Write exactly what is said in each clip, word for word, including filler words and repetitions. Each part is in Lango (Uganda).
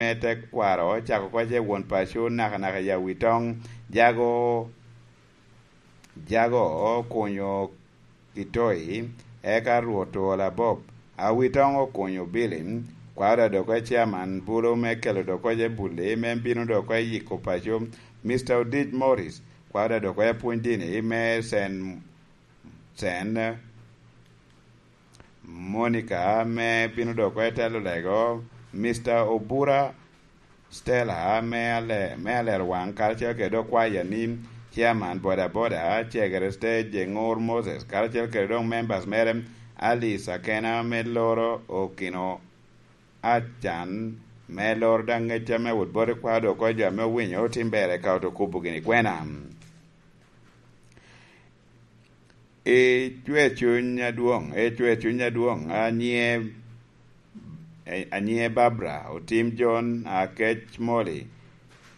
me tekwaro, cako oko ce won paco nakanaka i Awitoŋ, jago, jago okunyo Kitoi, eka Rwot Ola Bob. Awitoŋ okunyo Billy, kwaro dok oko chairman bulu me kelo dok oko ce bulli me bino dok oko yiko paco, Mister Odij Morris, kwaro dok oko apwony dini me Sen, Sen Monica me bino dok oko telo lego, Mister Obura Stella me ale-, me alero waŋ, karacel kede dok kwaya ni chairman boda boda, cegere stage Ŋur Moses, karacel kede dok members mere, Ali Sakena me loro okino acan, me loro daŋ ŋecca me wot bot i kwaro dok oko jo ame owinyo otim ber eka oto kubo gini kwena. Icwe cuny adwoŋ, icwe cuny adwoŋ, anie, anie Barbara, Otim John, Akec Molly.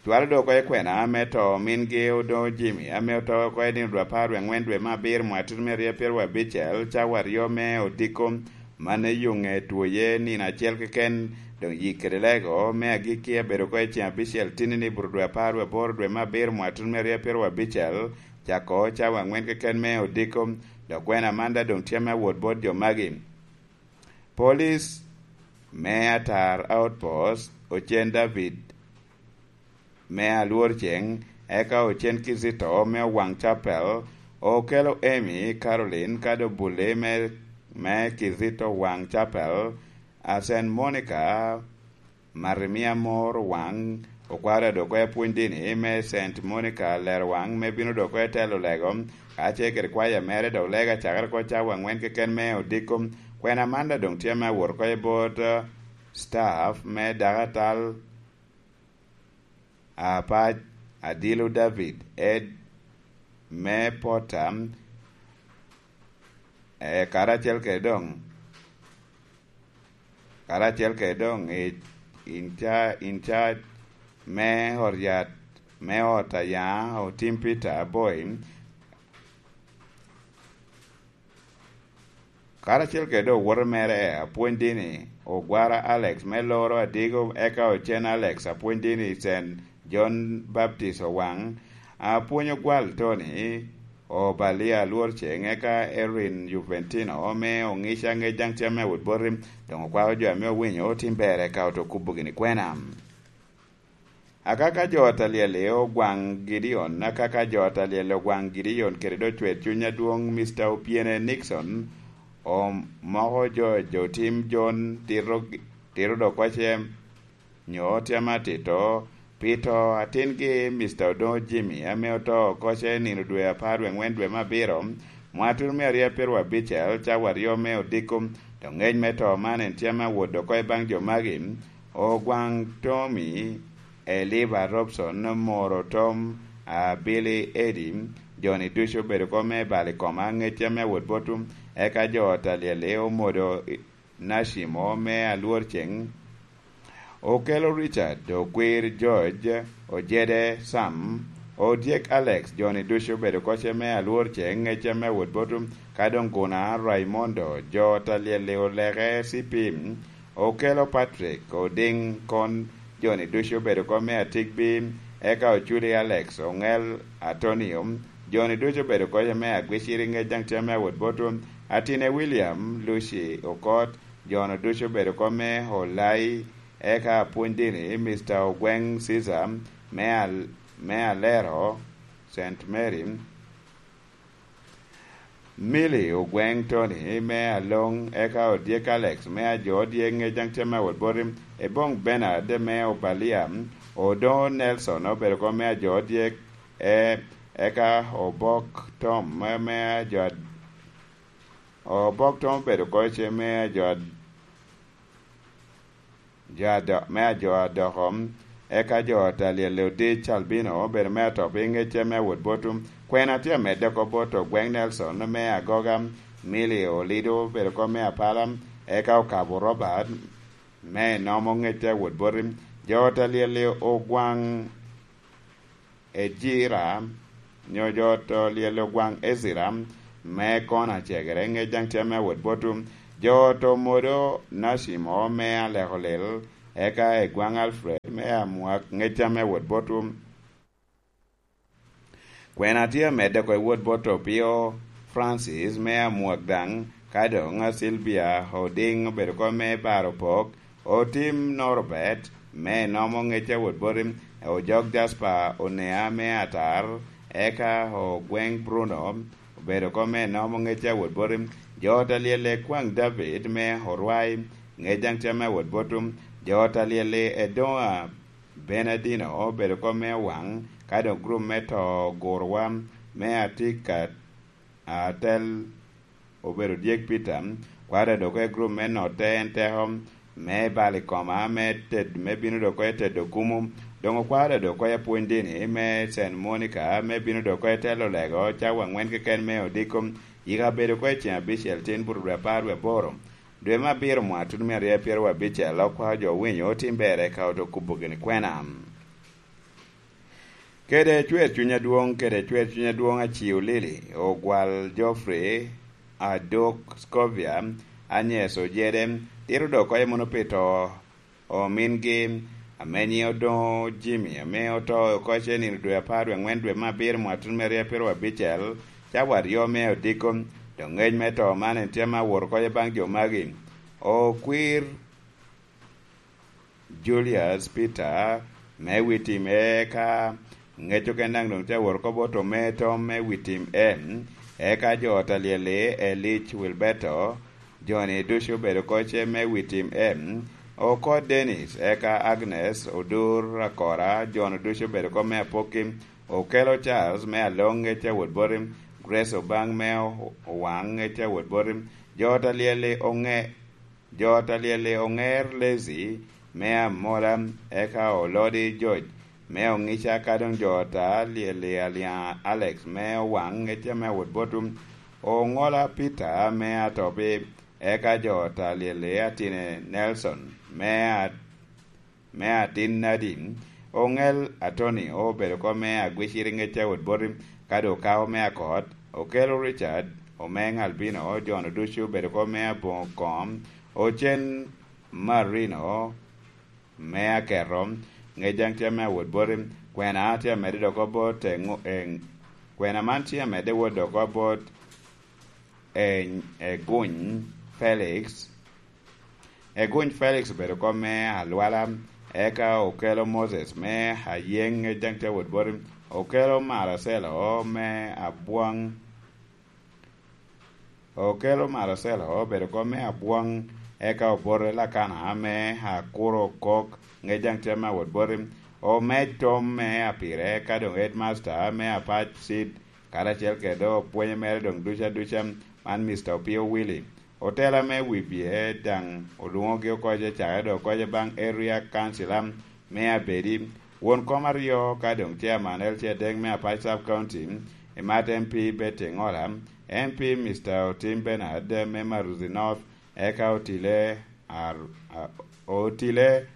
Cwalo dok oko i kwena ame to, mingi Odoŋo Jimmy, ame oto oko i nino dwe apar wie ŋwen dwe me abiro mwaka tutumia aryo pyeraryo abicel, cawa aryo me odiko, man eyuŋe twoye nino acel keken, doŋ yik kede lego me agikki abedo oko i ceŋ abicel tinni ni buto dwe apar wie aboro dwe me abiro mwaka tutumia aryo pyeraryo abicel, cako cawa aŋwen keken me odiko, dok kwena man daŋ doŋ tye me awot bot jo magi. Police me Atar Outpost, Ocen David me Alwor Ceŋ, eka Ocen Kizito me Owaŋ Chapel, okelo Amy Caroline Kadobuli me, me Kizito Waŋ Chapel, a Saint Monica Marimia Mor Waŋ, okwaro dok oko apwony dini me Saint Monica Lero Waŋ me bino dok oko telo lego, ka ce kede kwaya mere dok lego acakere oko cawa aŋwen keken me odiko. Kwena man daŋ doŋ tye me awot oko i bot, eh, staff me dakatal apac, Adilo David, Ed me Potter, eh, karacel kede doŋ, karacel kede doŋ i, in ca-, in charge me ot yat, me ot aya, Otim Peter Aboy, karacel kede owote mere, apwony dini, Ogwara Alex me loro Adigo, eka Ocen Alex, apwony dini, Saint John Baptist Owaŋ, apwony Ogwal Tony, Obalia Alwor Ceŋ, eka Erin Juventino me Oŋica ŋec daŋ tye me wot boti, doŋ okwako jo ame owinyo otim ber, eka oto kubo gini kwena. Akaka jo a Talyel i Ogwaŋ Gideon, akaka jo a Talyel i Ogwaŋ Gideon kede dok cwer cuny adwoŋ Mister Opiene Nixon, omoko jo, jo tim John tito, tito dok oko ce nyo tye ame atito, pi to atingi Mister Odoŋo Jimmy, ame oto oko ce nino dwe apar wie ŋwen dwe me abiro, mwaka tutumia aryo pyeraryo abicel, cawa aryo me odiko, dok ŋec me to man en tye ame awot dok oko i baŋ jo magi, Ogwaŋ Tommy, Eliba Robson, Moro Tom, a, Billy Eddie, jo-ni ducu obedo oko me balo i koma, ŋec tye ame awot botwu, eka jo a Talyel i Omodo, Nacimo me Alwor Ceŋ, Okelo Richard, Okwir George, Ojede Sam, Odyek Alex, jo-ni ducu obedo oko ce me Alwor Ceŋ, ŋec tye ame awot botwu, ka doŋ Guna Raimondo, jo Talyel i Oleke C P, Okelo Patrick, Odiŋ Kon, jo-ni ducu obedo oko me Atigbi, eka Oculi Alex, Oŋel Antonio, jo-ni ducu obedo oko ce me Agwiciri, ŋec daŋ tye ame awot botwu, Atine William, Lucy Okot, jo-nu ducu obedo oko me Olai, eka apwony dini, Mister Ogweŋ Caesar, me Al-, me Alero, Saint Mary, Milly Ogweŋ Tony, me Aloŋ, eka Odyek Alex, me Ajo Odyek, ŋec daŋ tye me awot boti, Eboŋ Bernard, me Obalia, Odoŋo Nelson, obedo oko me Ajo Odyek, e, eka Obok Tom, me, me Ajo Ad-, Obok Tom obedo oko ce me Ajo Ad-, jo ado-, me ajo adoko, eka jo a Talyel i Odic Albino obedo me ato pi ŋecce me awot botwu. Kwena tye amedde oko bot Ogweŋ Nelson me Agoga, Milly Olido obedo oko me Apala, eka Okabo Robert me Enomo ŋecce awot boti. Jo a Talyel i Ogwaŋ Ejira, nyo jo to lyel Ogwaŋ Ezira, me Kona Cegere, ŋec daŋ tye me awot botwu. Jo to modo Nacimo me Aleko Lil, eka i gwaŋ Alfred me Amwak ŋecca me wot bot Kwena tye amedde oko i wot bot Opio Francis me Amwak daŋ, ka doŋ a Sylvia Oding obedo oko me baro pok, Otim Norbert me Nomo ŋec a wot boti, Ojok Jasper Onea me Atar, eka Ogweng Bruno obedo oko me Nomo ŋec a wot boti, jo ot a lyelle kwaŋ David me Orwai, ŋec daŋ tye ame wot boti, jo ot a lyelle Edoŋa Benadino obedo oko me Owaŋ, ka doŋ gurup me to ogurowa me Atika Atel obedo dyek Peter, kwaro dok oko i gurup me notte en teko me balo i koma me ted, me bino dok oko i tedo kumo. Doŋ okwaro dok oko i apwony dini me Saint Monica me bino dok oko i telo lego cawa aŋwen keken me odiko. Yika bedo oko i ceng abicel tin buto dwe apar dwe aboro. Dwe me abiro mwa tuno me aryo pyeraryo abicel, okwao jo owinyo otim berre ka oto kubo gini kwena. Kede cwer cuny adwoŋ, kede cwer cuny adwoŋ aciu lili, ogwal Geoffrey Adok Scovia, Agnes Ojede, tito dok oko mono pi to omingi, ame nyiŋe odoŋo Jimmy, ame oto oko ce nino dwe apar dwe aŋwen dwe me abiro mwa tuno me aryo pyeraryo abicel, cawa aryo me odiko. Doŋ ŋec me to man en tye ame awot oko baŋ jo magi. Okwir Julius Peter me Witim, eka ŋec oken daŋ doŋ tye awot oko bot ome tom me Witim M, eka jo ot a lyel-li Elic Wilberto, jo-ni ducu obedo oko ce me Witim M, oko Dennis, eka Agnes Odur Akora, jo-nu ducu obedo oko me Apokki, Okelo Charles me Aloŋ ŋec a wot boti, Grace Obaŋ me O-, Owaŋ ŋec a wot boti, jo ot a lyel-li oŋe-, jo ot a lyel-li oŋer Lazy me Amola, eka Olodi George me Oŋica, ka doŋ jo ot a lyel-li Alyaŋ Alex me Owaŋ ŋec ame a wot boti, Oŋola Peter me Atobi, eka jo ot a lyel-li Atine Nelson me a-, me atin Nadine, Oŋel Atoni obedo oko me agwiciri ŋec a wot boti, ka doŋ okawo me akot, Okelo Richard, Omeŋ Albino, jo-nu ducu obedo oko me aboŋo kom, Ocen Marino me aketo, ŋec daŋ tye me awot boti, kwena tye amedde dok oko bot, e, ŋo-, e, kwena man tye amedde wot dok oko bot, e, Eguny Felix, Eguny Felix obedo oko me Alwala, eka Okelo Moses me Ayeŋ, ŋec daŋ tye awot boti, Okelo Maracelo me Abwaŋ, Okelo Maracelo obedo oko me Abwaŋ, eka Obote Lakana me Akuro Kok, ŋec daŋ tye me awot boti, Omec Tom me Apire, ka doŋ Headmaster me Apac Seed, karacel kede opwonye mere doŋ duca duca, man Mister Opio Willy. Otela me wibye daŋ olwoŋogi oko ce cakere doŋ oko ce baŋ Area Councilor me Abedi, won kom aryo ka doŋ Chairman L C adek me Apac Sub County, imat M P Betty Ŋola, M P Mister Otim Bernard me Maruzi North, eka Otile Ar-, a-, Otile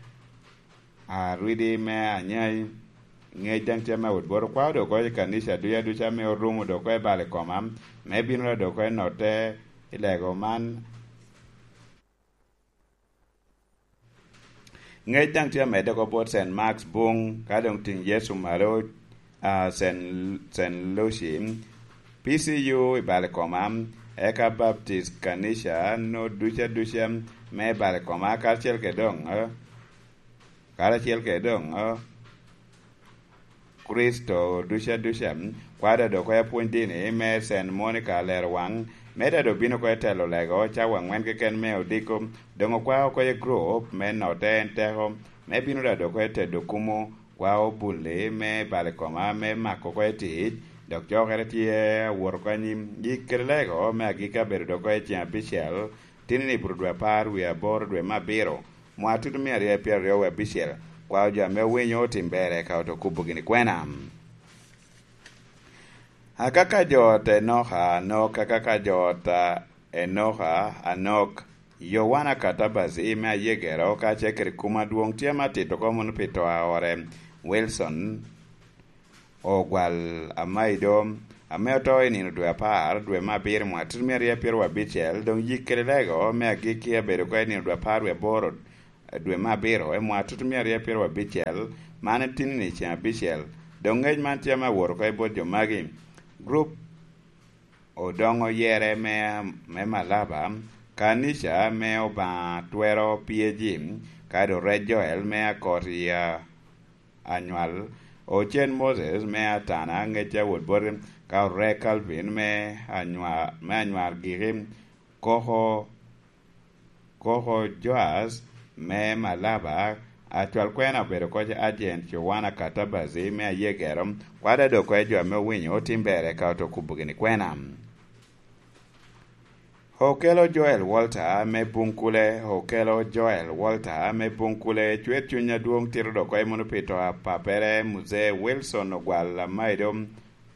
Arwidi me Anyai, ŋec daŋ tye me wot bot okwao dok oko i kanica duca duca ame orumo dok oko i bal i koma, me bino dok oko i notte i lego man. Ŋec daŋ tye amedde oko bot Saint Mark's Buŋ, ka doŋ Tiŋ Yecu Malo, a, Saint, Saint Lucy, P C U i bal i koma, eka Baptist Kanica no duca duca me bal i koma, karacel kede doŋ, a, karacel kede doŋ, a, Kricito duca duca, kwada dok oko i apwony dini me Saint Monica Lerowaŋ, me dado bino oko i telo lego cawa aŋwen keken me odiko, doŋ okwao oko i gurup me notte en teko, me bino dado oko i tedo kumo, kwao bulli me bal i koma, me mako oko i tic, dok cokere tye awot oko anyim. Yik kede lego me agikki abedo dok oko i ceng abicel, tini-ni buto dwe apar wie aboro dwe me abiro, mwa tutu mia aryo pyeraryo wie abicel, kwao jo ame owinyo otim berre ka oto kubo gini kwena. Akaka jo ot Enoka Anok, akaka jo ot a Enoka Anok, Yowana Katabazi me Ayegero, ka ce kede kum adwoŋ tye ma tito oko mono pi to a ore, Wilson Ogwal Amaido, ame oto i nino dwe apar, dwe me abiro, mwa tutu mia aryo pyeraryo abicel, doŋ yik kede lego me agikki abedo oko i nino dwe apar wie aboro, dwe me abiro, i mwaka tutumia aryo pyeraryo abicel, man en tinni ceŋ abicel. Doŋ ŋec man tye ame awot oko i bot jo magi. Grup Odoŋo Oyere me, me Malaba, Kanica me Obaŋa Twero P A G, kadi Orec Joel me Akot i a- Anywal, Ocen Moses me Atana, Ŋecca wot boti, ka Orec Calvin me Anywal, me Anywal giki, Koko, Koko Joas me Malaba, acwal kwena obedo koc Agent Yowana Katabazi me Ayegero, kwada dok koc jo ame owinyo otim ber eka oto kubo gini kwena. Okelo Joel Walter me Bunkule, Okelo Joel Walter me Bunkule, cwer cuny adwoŋ tito dok koc mono pi to a papere, Muzee Wilson Ogwal Amaido,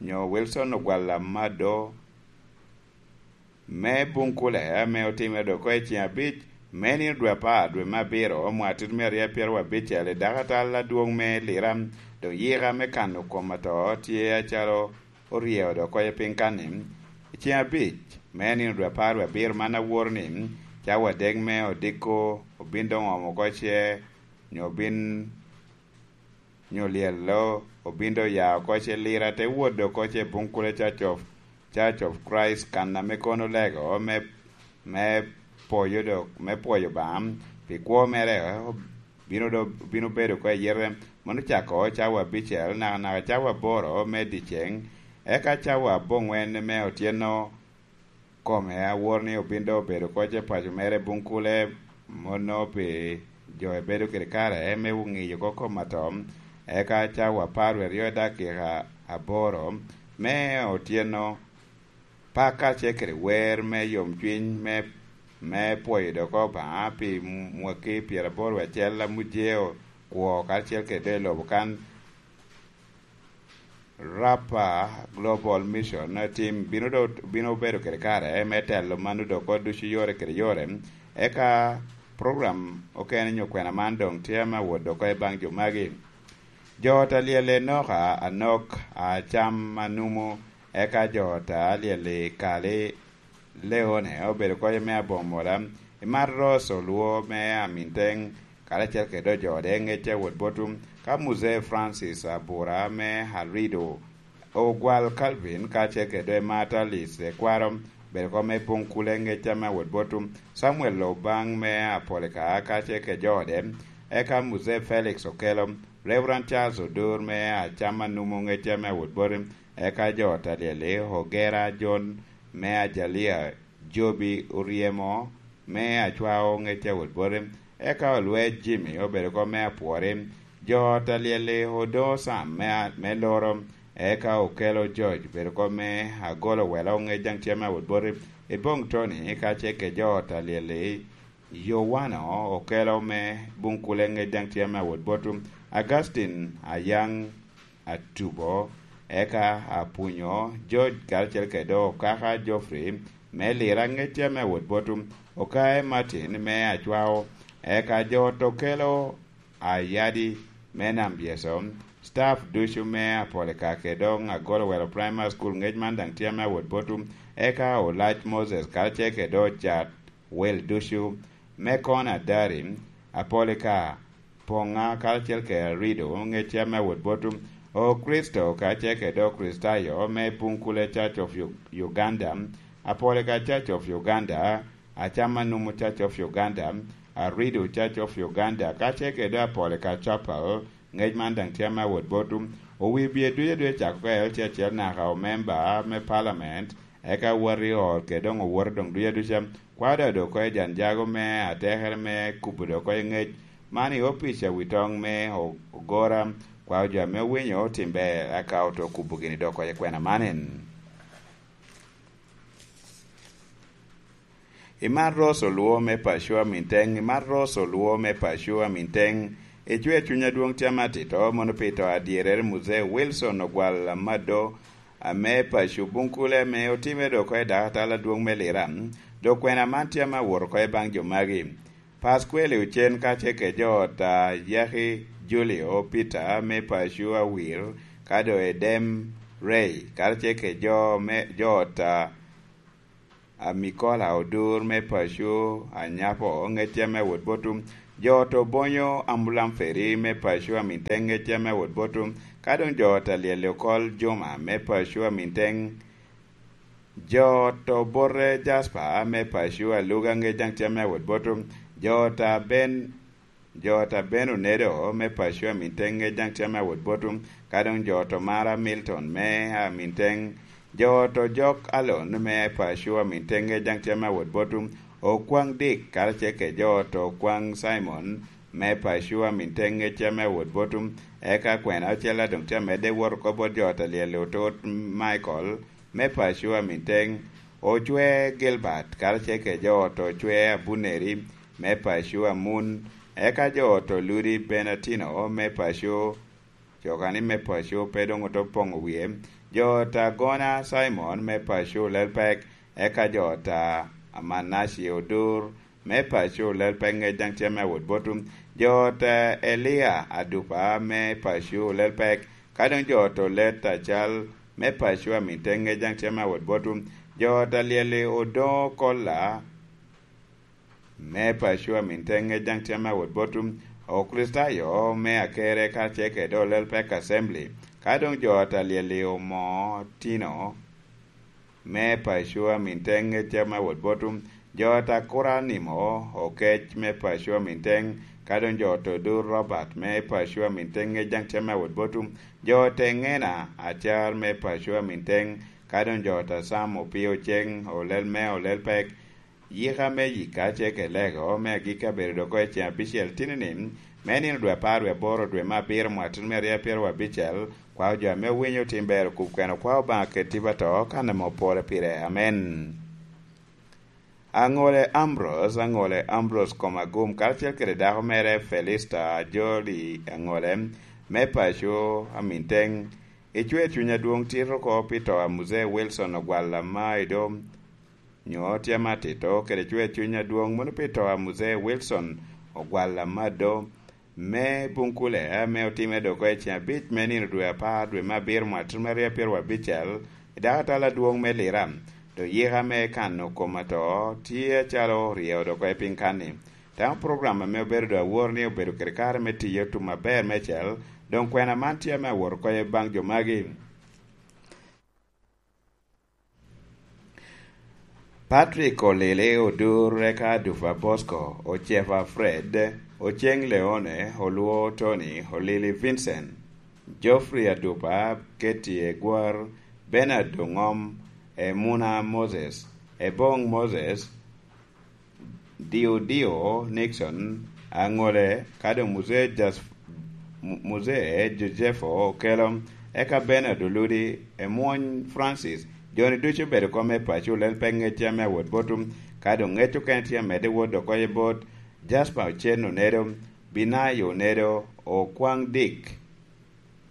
nyo Wilson Ogwal Amado, me Bunkule, ame otimere dok koc i ceŋ abic, me nino dwe apar, dwe me abiro, mwaka tutumia aryo pyeraryo abicel, i dakatal adwoŋ me Lira, doŋ yika me kano kom ato tye acalo oryeo dok koc piny kanni. I ceŋ abic, me nino dwe apar wie abiro man aworo ni, cawa adek me odiko obin doŋ omo oko ce, nyo obin, nyo lyello obin doŋ ya oko ce, Lira te wot dok oko ce Bunkule Church of, Church of Christ, kan ame kono olego me, me pwoyo dok, me pwoyo Obaŋa pi kwo mere, bino do-, bino bedo oko i yite, mano cako cawa abicel, nakanaka cawa aboro me dyeceŋ, eka cawa aboŋwen me otyeno kome aworo ni obin doŋ obedo oko ce paco mere Bunkule, mono pi jo ebedo kede kare me ŋiyo oko kom ato, eka cawa apar wie aryo i dakika aboro me otyeno, Paka ce kede wer me yomcwiny me, me pwoyo dok Obaŋa pi mwaki pyeraboro wie acel a Mujeo kwo karacel kede doŋ i lobo kan. Rapa Global Mission Team bino do, bino bedo kede kare me telo mano dok oko ducu yore kede yore. Eka program okene nyo kwena man doŋ tye ame awot dok oko i baŋ jo magi. Jo ot alyel Enoka Anok, Acam Anumu, eka jo ot alyel Kali Leone obedo koc me aboŋo mola, Imat Ros Olwo me Aminteng, karacel kede jo ode Ŋecca wot Botum, ka Muzee Francis Abura me Arido, Ogwal Calvin, karacel kede Imat Alice Ekwaro, bedo koc me Bunkule Ŋecca me wot Botum, Samuel Obaŋ me Apolika, karacel kede jo ode, eka Muzee Felix Okelo, Reverend Charles Odur me Acam Anumu Ŋecca me wot Botum, eka jo ot alyel-li, Ogera John me Ajalia, Jobi Oryemo me Acwao Ŋecca wot Botum, eka Olwec Jimmy obedo koc me Apwori, jo ot alyel-li, Odo Sam me, me Loro, eka Okelo George obedo koc me Agolo Welo Ŋec daŋ tye me wot Botum, Iboŋ Tony, ka ce kede jo ot alyel-li, Yowano Okelo me Bunkule Ŋec daŋ tye me wot Botum, Augustine Ayaŋ Atubo, eka Apunyo George karacel kede Okaka Geoffrey me Lira Ŋec tye me wot Botum, Okae Martin me Acwao, eka jo ot Okelo Ayadi me Nam Byeso, staff ducu me Apolika kede doŋ Agolo Welo Primary School Ŋec man daŋ tye me wot Botum, eka Olac Moses karacel kede Ocat Wel ducu, me Kona Dari, Apolika, Poŋa karacel kede Arido, Ŋec tye me wot Botum, O Kricito karacel kede Okricitayo me Bunkule Church of U-, Uganda, Apolika Church of Uganda, Acam Anumu Church of Uganda, Arido Church of Uganda, karacel kede Apolika Chapel, Ŋec man daŋ tye me wot Botum, owi bye ducu aducu cako ka L C acel naka omemba me palament, eka wati ot kede doŋ owoto doŋ ducu aduca. Kwao dok dok oko i jan jago me atekere me kubo dok oko i ŋec man i opic a wi toŋ me O-, Ogora, kwao jo ame owinyo otim ber, aka oto kubo gini dok oko i kwena man en. Imat Ros Olwo me Pacua Minteng, Imat Ros Olwo me Pacua Minteng, icwe cuny adwoŋ tye ame atito, mono pi to adyerere Muzee Wilson Ogwal Amado, ame Pacu Bunkule, ame otimme dok oko i dakatal adwoŋ me Lira, dok kwena man tye ame awot oko i baŋ jo magi. Paskweli Ocen kacel kede jo ot a Yaki Julio Peter me Pacu Awir, ka doŋ Edem Ray, karacel kede jo me, jo ot a Amikola Odur me Paco Anyapo, Ŋecca me wot Botum, Jo to bonyo ambulam feri me paco amin teŋ ŋecca me wot botum, ka doŋ jo ta lyel okol juma me paco amin teŋ. Jo to bote jaspa me paco aluga ŋec daŋ tye me wot botum. Jo ta ben, jo ta ben onedo me paco amin teŋ ŋec daŋ tye me wot botum. Ka doŋ jo to mara Milton me amin teŋ. Jo to jok alon me paco amin teŋ ŋec daŋ tye me wot botum. Okwaŋ dik karacel kede jo to okwaŋ Cimon me paco amin teŋ ŋec tye me wot botum. Eka kwena ocel a doŋ tye amedde wot oko bot jo ta lyel otot Michael me paco amin teŋ. Ocwe Gilbert karacel kede jo to ocwe Abuneri me paco amun. Eka jo to ludi Benatino me paco, coka ni me paco pe doŋ oto poŋo wie. Jo ta gona Cimon me paco lel pek, eka jo ta Amanaci odur me paco lel pek ŋec daŋ tye me awot botum. Jo ta Elia adupa me paco lel pek, ka doŋ jo to let acal me paco amin teŋ ŋec daŋ tye me awot botum. Jo ta lyel-li odoŋo kolla me paco amin teŋ ŋec daŋ tye me awot botum. Okricitayo me akere karacel kede olel pek assembly, ka doŋ jo ta lyel-li omo tino me paco amin teŋ ŋec tye me awot botum. Jo ta kura nimo okec me paco amin teŋ, ka doŋ jo ta odur Robert me paco amin teŋ ŋec daŋ tye me awot botum. Jo ta eŋena acar me paco amin teŋ, ka doŋ jo ta Sam opio ceŋ olel me olel pek. Yika me yika ce ke lego me agikki abedo dok oko i ceŋ abicel tini ni, me nino dwe apar wie aboro dwe me abiro mwatino me aryo apiro abicel, kwao jo ame owinyo otim ber okub kweno kwao Obaŋa kede tipo ato kan ame opore pire. Amen. Aŋole Ambrose, aŋole Ambrose kom agum, karacel kede dako mere Felista Ajoli aŋole, me paco amin teŋ, icwer cuny adwoŋ tito oko pi to a Muzee Wilson Ogwal Amaido, nyo tye ame atito kede cwer cuny adwoŋ mono pi to a Muzee Wilson Ogwal Amado me Bunkule ame otimme dok oko i ceŋ abic me nino dwe apar dwe me abiro mwaka tutumere aryo apiro abicel i dako atal adwoŋ me Lira. Dok yika me kano kom ato tye acalo oryeyo dok oko i piny kanni. Tamo program ame obedo dok awor ni obedo kede kare me tiyo tum aber mecel, doŋ kwena man tye ame awot oko i baŋ jo magi. Patrick Olili Odur, eka Adupa Bosco, Ocefa Fred, Oceng Leone, Olwo Tony, Olili Vincent, Geoffrey Adupa, Ketty Egwar, Bernard Dongom, Emuna Moses, Ebong Moses, Diodio Nixon, aŋole, ka doŋ Muzee Jas-, Mu-, Muzee Joseph Okello, eka Bernard Oludi, Emwony Francis, jo-ni ducu obedo kom me paco lel pe ŋec tye ame awot botum, ka doŋ ŋec okene tye amedde wot dok oye bot, Jasper Ocen Onedo, Binayo Onedo, Okwaŋ Dick,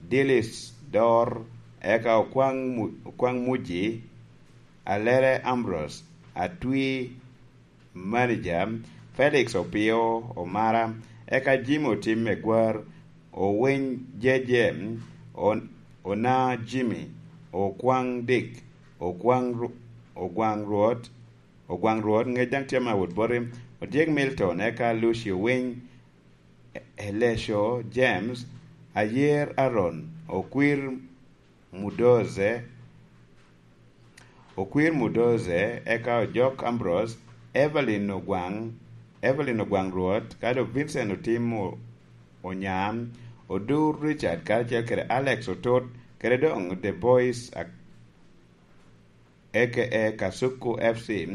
Dillis Dor, eka Okwaŋ Mu-, Okwaŋ Muji, Alere Ambrose, Atwi, Manager, Felix Opio Omara, eka Jimmy Otim Egwar, Owiny J J, On-, Ona Jimmy, Okwaŋ Dick, Okwaŋ Ru-, Ogwaŋ Rwot, Ogwaŋ Rwot, ŋec daŋ tye ame awot boti, Odyek Milton, eka Lucio Winy, Eleco James, Ayer Aaron, Okwir Mudoze, Okwir Mudoze, eka Ojok Ambrose, Evelyn Ogwaŋ, Evelyn Ogwaŋ Rwot, ka doŋ Vincent Otim O-, Onyan, Odur Richard, karacel kede Alex Otut, kede doŋ The Boys Ak-, A K A Kasuku F C,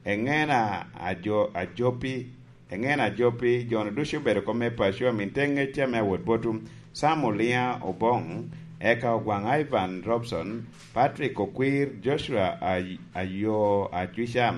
Eŋena Ajo-, Ajopi, Eŋena Ajopi, jo-nu ducu obedo kom me paco, amin te ŋecca me awot botum, Sam Oliŋa Oboŋ, eka Ogwaŋ Ivan Robson, Patrick Okwir, Joshua Ay-, Ayo Acwica,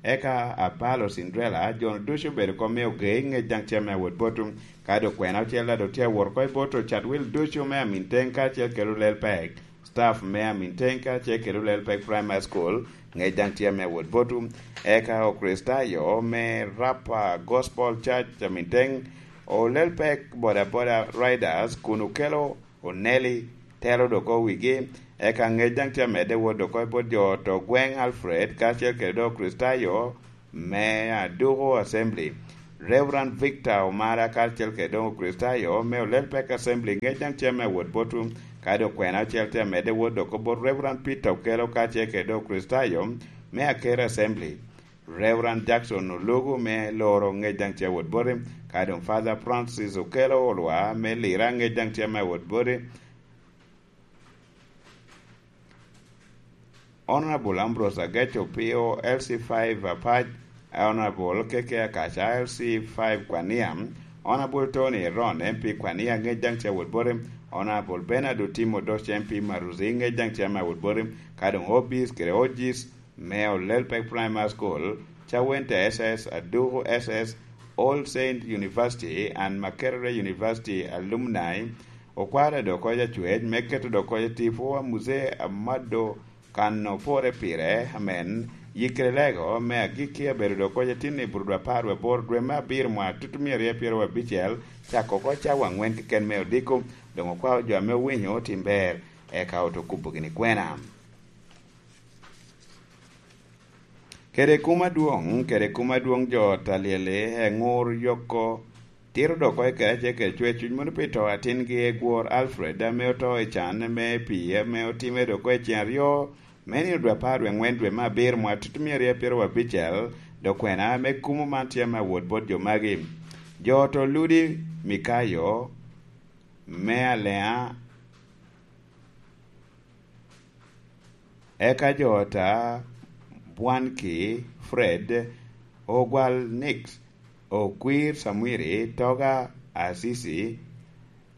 eka Apalo Cinderella, jo-nu ducu obedo kom me oge i ŋec daŋ ca me awot botum, ka doŋ kwena ocel daŋ doŋ tye awot oko i bot Ocatwil ducu me amin teŋ karacel kede olel pek. Staff me Aminteng kacel kede Olel Pek Primary School, ŋec daŋ tye ame wot botu. Eka Okricitayo me Rapa Gospel Church Aminteng, Olel Pek Boda Boda Riders kun okelo Oneli telo dok owigi. Eka ŋec daŋ tye amedde wot dok oko bot jo to gweŋ Alfred kacel kede dok Okricitayo me Aduku Assembly. Reverend Victor Omara karacel kede doŋ Okricitayo me Olelpek Assembly ŋec daŋ tye ame awot botwu, ka doŋ kwena ocel tye amedde wot dok bot Reverend Peter Okello karacel kede doŋ Okricitayo me Akere Assembly. Reverend Jackson Olugu me Loro ŋec daŋ tye awot boti, ka doŋ Father Francis Okello Olwa me Lira ŋec daŋ tye ame awot boti. Honorable Ambrose Agec Opio, L C five Apac, Honorable K K Akaca, L C five Kwania, Honorable Tony Eron, M P Kwania, ŋec daŋ tye awot boti, Honorable Bernard Otim Odoc, M P Maruzi, ŋec daŋ tye ame awot boti, ka doŋ Obis kede Ojis me Olelpek Primary School, Cawente S S, Aduku S S, All Saint University and Makerere University alumni, okwaro dok koc acwec me keto dok koc tipo a Muzee Amado kan opore pire, amen, yikkere lego me agikki abedo dok koc atin i Burudwa apar wie aboro dwe me abiro mwa tutumia aryo pyero abicel, cako oko cawa angwen keken me odiko, doŋ okwao jo ame owinyo otim ber, eka oto kubo gini kwena. Kede kum adwoŋ, kede kum adwoŋ jo ot a lyel-li, eŋur yoko tito dok oko i kare acel kede cwer cuny mono pi to atingi egwor Alfred ame oto i can me pii ame otimme dok oko i cen aryo me nino dwe apar wie ŋwen dwe me abiro mwa tutumia aryo pyero abicel, dok kwena me kumo man tye ame awot bot jo magi. Jo oto Ludi Mikayo me Alea, eka jo ota Bwanki Fred, Ogwal Nix, Okwir Samwiri, Toga Asisi,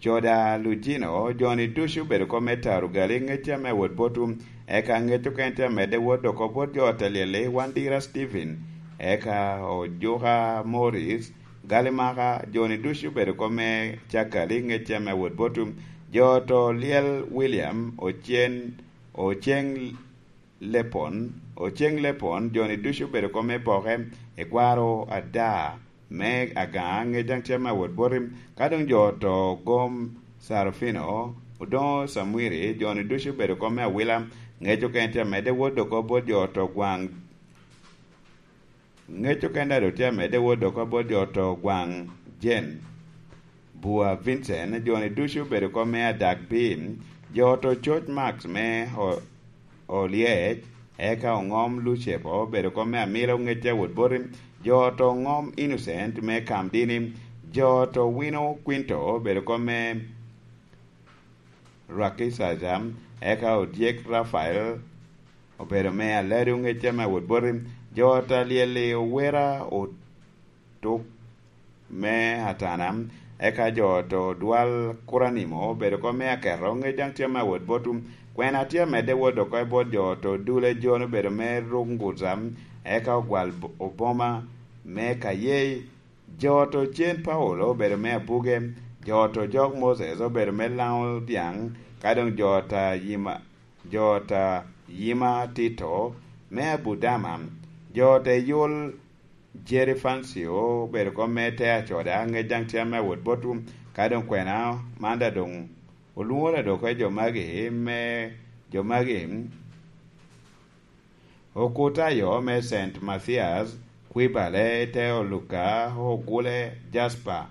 Coda Lujino, joni ducu obedo kop me taro gali ŋec ame awot botwu, eka ŋec okene tye amedde wot dok bot jo ota lyel-li, Wandira Stephen, eka Ojuka Morris, Galimaka, joni ducu obedo kop me cakali ŋec ame awot botwu, jo oto lyel William, Ocen, Oceng Lepon, Oceng Lepon, joni ducu obedo kop me poke, ekwaro ada me Agaŋa, ŋec daŋ tye ame awot boti, ka doŋ jo oto gom Sarofino, Odoŋo Samwiri, joni ducu obedo kop me awila, ŋec okene tye amedde wot dok bot jo oto gwaŋ Ŋec okene daŋ doŋ tye amedde wot dok bot jo oto gwaŋ Jen. Bua Vincent, joni ducu obedo kop me adak piny, jo oto coc Max me O-, Olyec, eka oŋom Lucepo obedo kop me amilo ŋec awot boti, jo oto ŋom Innocent me Kamdini, jo oto wino Quinto obedo kop me Rwaki Caca, eka odyek Rafael obedo me alado ŋec ame awot boti, jo ot a lyel-li owera otuk me atana, eka jo ot odwal Kuranimo obedo kop me aketo ŋec daŋ tye ame awot botwu, kwena tye amedde wot oko i bot jo ot odule Jon obedo me Runguza, eka ogwal bo-, Oboma me Kayei, jo oto Cen Paulo obedo me Abuge, jo oto Jok Moses obedo me Laŋo Dyaŋ, ka doŋ jo ota Yima, jo ota Yima Tito me Abudama, jo oto Eyul Jeri Fancio obedo kop me Te Acoda, ŋec daŋ tye ame awot botwu, ka doŋ kwena man daŋ doŋ olwoŋo ladok oko i jo magi me, jo magi, Okutayo me Saint Mathias, Kwibale, Teo Luka, Ogule, Jasper.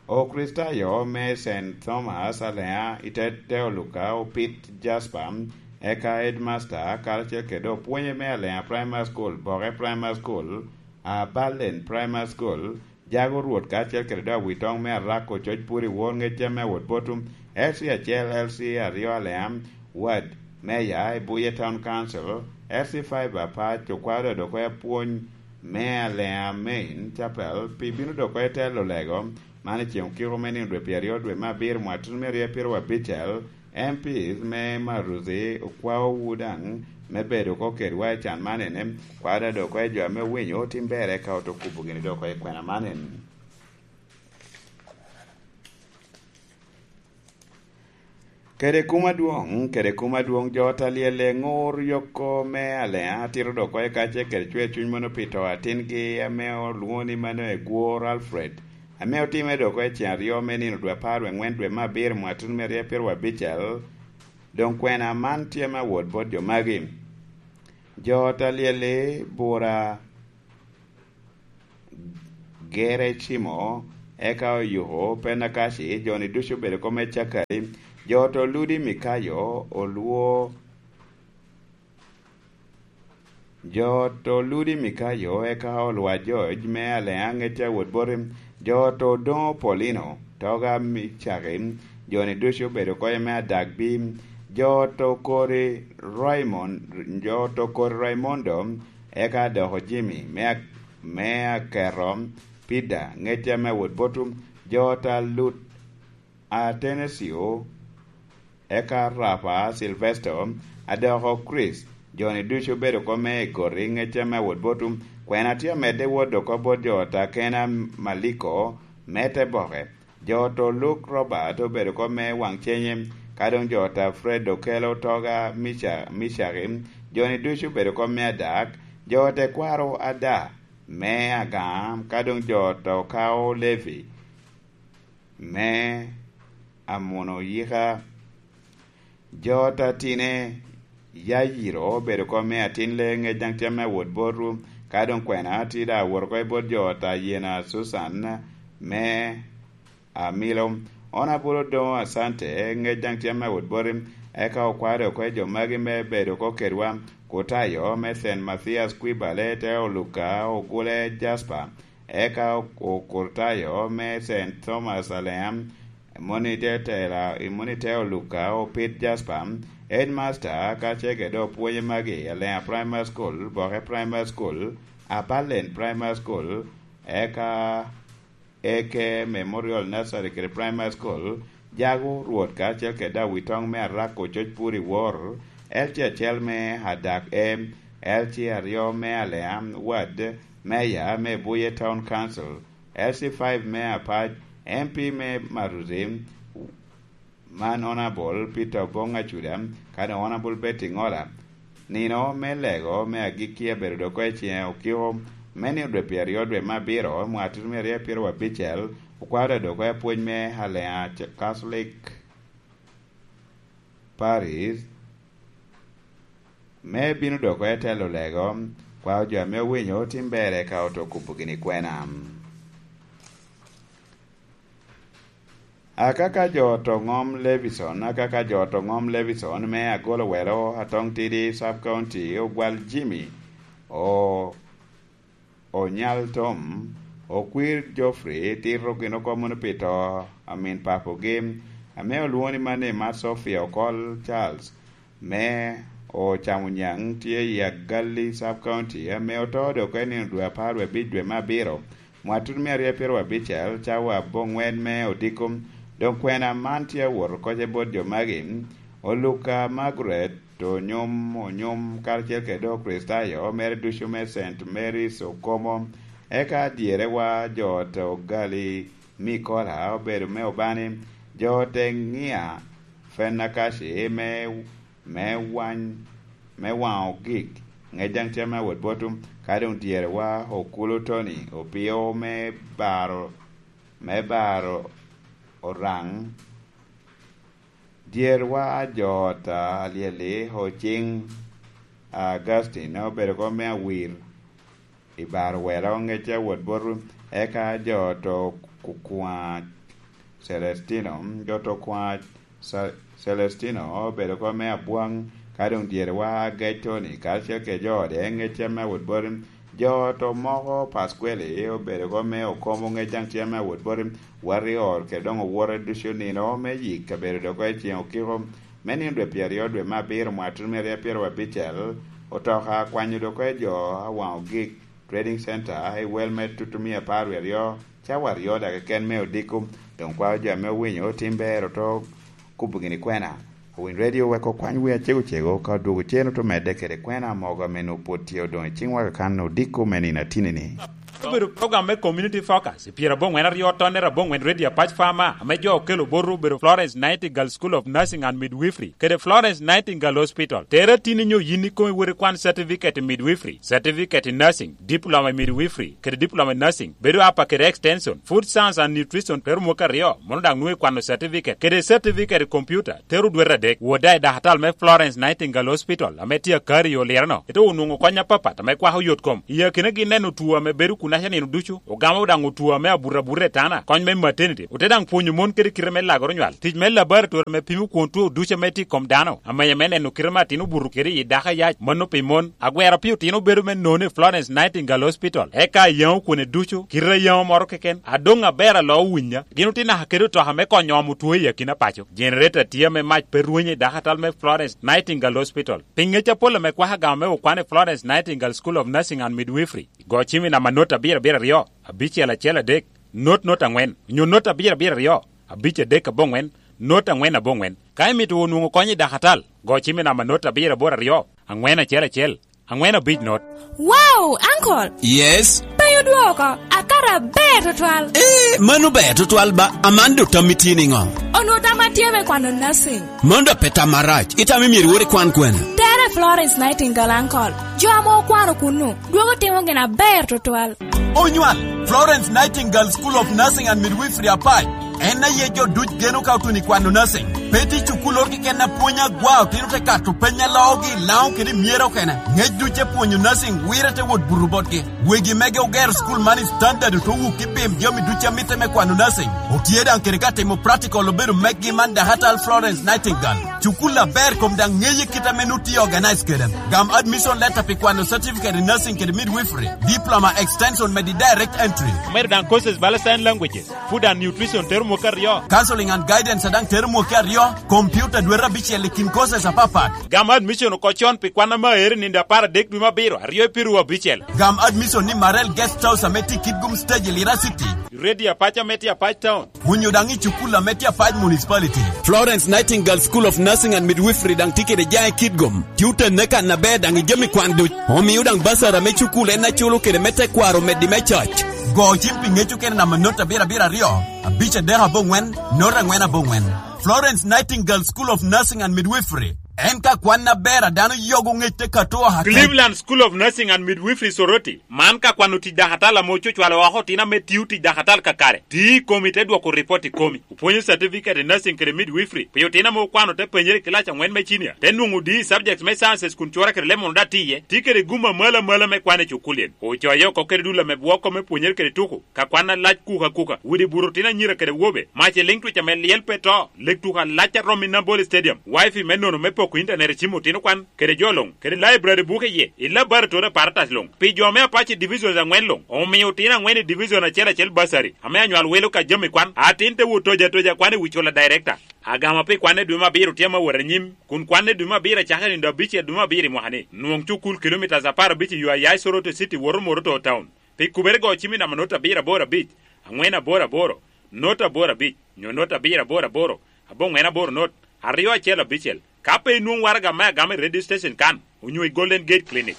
Okricitayo me Saint Thomas Alea i te Teo Luka, Opit, Jasper, eka Headmaster, karacel kede opwonye me Alea Primary School, Boke Primary School, Abalen Primary School, Jago Rwot karacel kede dok awitoŋ me Arako coc pwod i wor ŋec ame awot botwu, L C acel, L C aryo Alea, Ward Mayor i Buye Town Council, L C five Apac okwao dok oko i apwony me Alea Main Chapel pi bino dok oko i telo lego man i ceŋ okiko me nino dwe pyeraryo dwe me abiro mwaka tutumia aryo pyeraryo abicel, M Ps me Maruzi okwaowu daŋ me bedo oko kedwa i can man ene, kwao dok oko i jo ame owinyo otim ber eka oto kubo gini dok oko i kwena man ene. Kede kum adwoŋ, kede kum adwoŋ jo ot a lyel eŋur yoko me Alea tito dok oko i kacce kede cwer cuny mono pi to atingi ame olwoŋo ni mano egwor Alfred, ame otimme dok oko i ceŋ aryo me nino dwe apar wie ŋwen dwe me abiro mwaka tutumia aryo pyeraryo abicel, doŋ kwena man tye me awot bot jo magi. Jo ot a lyel-li bura Gere Cimo, eka Oyuko Penakaci, jo-ni ducu obedo kop me Cakari, jo to Ludi Mikayo, Olwo, jo to Ludi Mikayo, eka Olwa George me Alea, ŋecce a wot boti, jo to Doŋo Paulino, Toga Micaki, jo-ni ducu obedo kop me Adagbi, jo to Kori Raymond, jo to Kori Raymondo, eka doko Jimmy me Ak-, me Aketo, Pida, ŋecce ame wot botu, jo ta Lut Atenesio, eka Rapa Silvesto, adoko Chris, jo-ni ducu obedo kop me Egoti, ŋecce ame wot botu, kwena tye amedde wot oko bot jo ta Kena Maliko, me te boke, jo to Luke Robert obedo kop me waŋ cenye, ka doŋ jo ta Fred Okelo Toga Mica-, Micaki, jo-ni ducu obedo kop me Adak, jo tekwaro Ada me Agam, ka doŋ jo to Kao Levi me Amuno Yika, jo ta Tine Yayiro obedo kop me atin le ŋec daŋ tye me wot botu, ka doŋ kwena tye daŋ awot oko i bot jo ta Yena Susan me Amilo. Onabulu Doŋo Asante, ŋec daŋ tye me wot boti, eka okwado oko i jo magi me bedo oko kedwa, Kutayo me Saint Mathias Kwibale te Oluka Ogule Jasper, eka Okurtayo me Saint Thomas Alea, moni te tela, moni te Oluka Opit Jasper, Headmaster, ka cege do pwonye magi, Alea Primary School, Boke Primary School, Apalen Primary School, eka Eke Memorial Nursery kede Primary School, Jago Rwot kacel kede Awitoŋ me Arak Ococ Puri Wor, L C acel me Adak M, L C aryo me Alea Ward, Meya me Buye Town Council, L C five me Apac, M P me Maruzi, man Honourable Peter Obong Acuda, kadi Honourable Betty Ngola. Nino me lego me agikki abedo dok i ciŋe okiko me nino dwe pyeraryo dwe me abiro, mwaka tutumia aryo pyeraryo abicel, okwaro dok i apwony me Alea Catholic Parish, me bino dok i telo lego, kwao jo ame owinyo tim ber eka oto kubo gini kwena. Akaka jo to ŋom Levison, akaka jo to ŋom Levison me Agolo Welo, Atong Tidi Sub County, Ogwal Jimmy, o, Onyal Tom, Okwir Geoffrey, tito gin oko mono pi to a min papogi, ame olwoŋo ni Mane Mat Sophia Okol Charles, me Ocamo Nyaŋ, tye i Agalli Sub County, ame oto dok i nino dwe apar wie abic dwe me abiro, mwaka tutumia aryo pyeraryo abicel, cawa aboŋwen me odiko. Doŋ kwena man tye awot oko i bot jo magi, Oluka Margaret Onyom Onyom, karacel kede Okricitayo mere ducu me Saint Mary's Okomo, eka dyerewa jo ot Ogali Mikola obedo me Obani, jo ot Eŋia Fenakaci me, me wany, me waŋo gik, ŋec daŋ tye me awot botu, ka doŋ dyerewa Okulu Tony Opio me baro, me baro Oraŋ, dyerewa jo ot Alyeli Ociŋ Augustine obedo kop me Awir, i baro welo ŋec awot botu, eka jo to Kukwa Celestino, jo to Kukwa Sa-, Celestino obedo kop me Abwaŋ, ka doŋ dyerewa Agec Tony, karacel kede jo ode ŋec me awot botu, jo to moko Pasqueli obedo kop me Okomo ŋec daŋ tye me awot botu, wati ot kede doŋ owote ducu nino me yik kabedo dok i ciŋ okiko, me nino dwe pyeraryo dwe me abiro mwaka tutumia aryo pyeraryo abicel, otoka kwanyo dok i jo awaŋo gik Trading Center i wel me tutumia apar wie aryo, cawa aryo daga keken me odiko, doŋ kwao jo ame owinyo otim ber oto kubo gini kwena. Owiny Radio wek okwany wi acego cego ka odwogo cen oto medde kede kwena mogo ame nwoŋo pwod tye odoŋ i ciŋwa kakan odiko me nino atini-ni. Obedo program me Community Focus i pyera aboŋwen aryo tonnere aboŋwen Radio Apac Farmer, ame jo okelo boto obedo Florence Nightingale School of Nursing and Midwifery kede Florence Nightingale Hospital. Tere atini nyo yin ikomi wot ikwan certificate in midwifery, certificate in nursing, diploma in midwifery, kede diploma in nursing, bedo apa kede extension, food science and nutrition, tero mwaka aryo, mono daŋ nwoŋo ikwano certificate, kede certificate in computer, tero dwete adek. Wot daŋ i dakatal me Florence Nightingale Hospital, ame tye Akari i Olireno, ite onwoŋo kony apapat ame kwako yot kom. I akinagi neno two ame bedo Kun aca nino ducu, ogamo daŋ otwo ame abuto abuta i tana, kony me maternity, ote daŋ pwonyo mon kede kite me lagoro nywal, tic me laboratory ame pimo kwon two ducu ame tye i kom dano, amenya me neno kite me atin obuto kede i dako ayac, mano pi mon. Agwero pi otino bedo me nono i Florence Nightingale Hospital, eka ayaŋo kwone ducu, kite ayaŋo moro keken, adoŋ aber alo owinya. Gin otye naka kede otoka me konyo omo two i akina paco. Generator tye ame mac pe rwenyo i dako atal me Florence Nightingale Hospital. Pi ŋec apol ame kwaka gamo me okwan i Florence Nightingale School of Nursing and Midwifery, go cim i namba not abiro abiro aryo, abicel acel adek, not not angwen, onyo not abiro abiro aryo, abic adek aboŋwen, not angwen aboŋwen. Ka imito wunu nwoŋo kony i dakatal, go cim i namba not abiro aboro aryo, angwen acel acel, angwen abic not. Wow, Uncle! Yes? Pe odwoko, akato aber tutwal. Eh, mano ber tutwal ba, aman dok tam itye niŋo? Onwoŋo tam atye me kwano nursing. Mano dok pe tam marac, itamo myero iwot ikwan kwene? Tere Florence Nightingale, Uncle. Jo ame okwano kunnu, dwogo timo gin aber tutwal. Onywal, Florence Nightingale School of Nursing and Midwifery Apac. En aye jo duc geno ka otuno i kwano nursing. Pe tye cukul oro keken apwony agwa otino te kato peny aloogi i Laŋo kede i myero okene. Ŋec duc te pwonyo nursing wire te wot buto botgi. Wegi mege ogero cukul man i standard oto wuk i pim jami duc a mitte me kwano nursing. Otye daŋ kede ka timo practical obedo meggi man dakatal Florence Nightingale. Cukul aber kom daŋ ŋeye kit ame nu tye organize kede. Gam admission letter pi kwano certificate in nursing kede midwifery, diploma extension medi direct entry. Medo daŋ courses bala sign languages, food and nutrition tero mwaka aryo. Counseling and guidance daŋ tero mwaka aryo, computer dwete abicel i kin courses apapat. Gam admission oko con pi kwan ame aere nindo apar adek dwe me abiro, aryo i piru abicel. Gam admission ni Marel Guest House ame tye i Kitgum Stage i Lira City. Ready apac ame tye Apac Town. Onyo daŋ i cukul ame tye Apac Municipality. Florence Nightingale School of Nursing and Midwifery daŋ tye kede jaŋ i Kitgum. Tye oten kan aber daŋ i jami kwan duc. Omio daŋ basara me cukul en aculo kede me tekwaro meddi me coc. Go cim pi ŋeco kede namba not abiro abiro aryo, abic adek aboŋwen, not angwen aboŋwen. Florence Nightingale School of Nursing and Midwifery. En ka kwan aber a dano yogo ŋec te kato aka Cleveland School of Nursing and Midwifery Soroti. Man ka kwano tic dakatal ame ococwalo oko otino ame tio tic dakatal kakare. Ti i komi te dwoko ripot i komi. Opwonyo certificate i nursing kede midwifery. Pi otino ame okwano te penyere i kilac angwen me cinia. Te nwoŋo di i subject me sciences kun cura kede lemon da tiye. Ti kede gum amalo amalo me kwan i cukulien. Ocoye oko kede dul ame bwoko me pwonyere kede tuku. Ka kwan alac kuka kuka. Widi buto otino anyira kede wobe. Mac i liŋ twic ame lyel pe to. Leg tuko alac a romo i Nambole Stadium. Wifi me nono me poko internet i cim otino kwan. Kede jo luŋ, kede library buke iye, i laboratory apparatus luŋ. Pi jo me Apache Divisions angwen luŋ, omio otino angwen i division acel acel bursary, ame anywal wilo ka jami kwan, atin te wot toja toja kwan i wi cula director. Agama pi kwan i dwe me abiro tye ame wot anyim, kun kwan i dwe me abiro acako i nindo abicel dwe me abiro i mwaka ni. Nwoŋ cukul kilometres apar abic i yo a ya i Soroti City woto Moroto Town. Pi kubere go cim i namba not abiro aboro abic, angwen aboro aboro, not aboro abic, nyo not abiro aboro aboro, aboŋwen aboro not, aryo acel abicel. Ka pe inwoŋo waraga me agama i radio station kan, onyo i Golden Gate Clinic.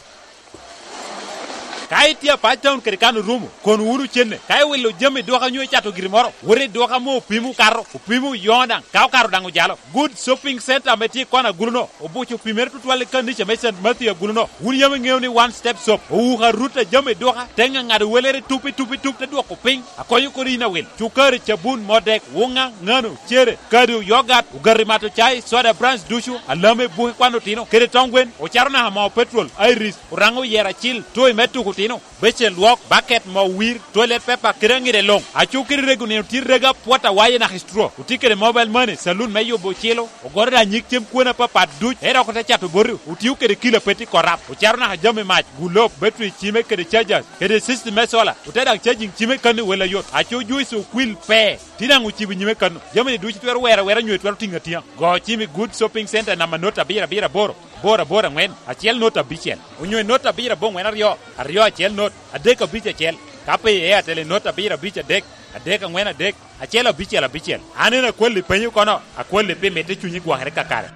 Ka itye Apac Town kede kan orumo, kono wunu cenne. Ka iwilo jami i duka onyo icato giri moro, wot i duka ame opimo kato, opimo yoŋo daŋ, ka okato daŋ ojalo. Good Shopping Center ame tye i kona agulu-no, obuco opimere tutwal i kanica me Saint Matthew agulu-no. Wun yam iŋeo ni One Step Shop owuko arut a jami i duka, te ŋaŋado welere tup i tup i tup te dwoko piny, akonyo kodi yin awil. Cukari, cabun, modek, wuŋa, ŋano, cere, kado, yogat, ogati mato cai, soda, brands ducu, alame, buke kwan otino, kede tong gwen, ocaro naka moo petrol, iris, oraŋo oyero acil, toy me tuko otino, becel lwok, baket, moo wir, toilet paper, kede aŋide luŋ. Aco kede rego nino tye rego apwot awaye naka i straw. Otye kede mobile money, saloon me yubo ocilo, ogoro da nyig cem kwena apapat duc, ento oko te cato boti, otio kede kilo apeti korap, ocaro naka jami mac, gulob, battery cime kede chargers, kede system me solar, ote daŋ charging cime kano i wel ayot. Aco juice okwil pe, tye daŋ ocibo nyime kano. Jami-ni ducu twero wero awera nyo twero tiŋo atiŋa. Go cim i Good Shopping Center namba not abiro abiro aboro, aboro aboro angwen, acel not abicel, onyo i not abiro aboŋwen aryo, aryo acel not, adek abic acel. Ka pe i Airtel i not abiro abic adek, adek angwen adek, acel abicel abicel. An en akwalli penyo kono, akwalli pi mitte cunyi gwokere kakare.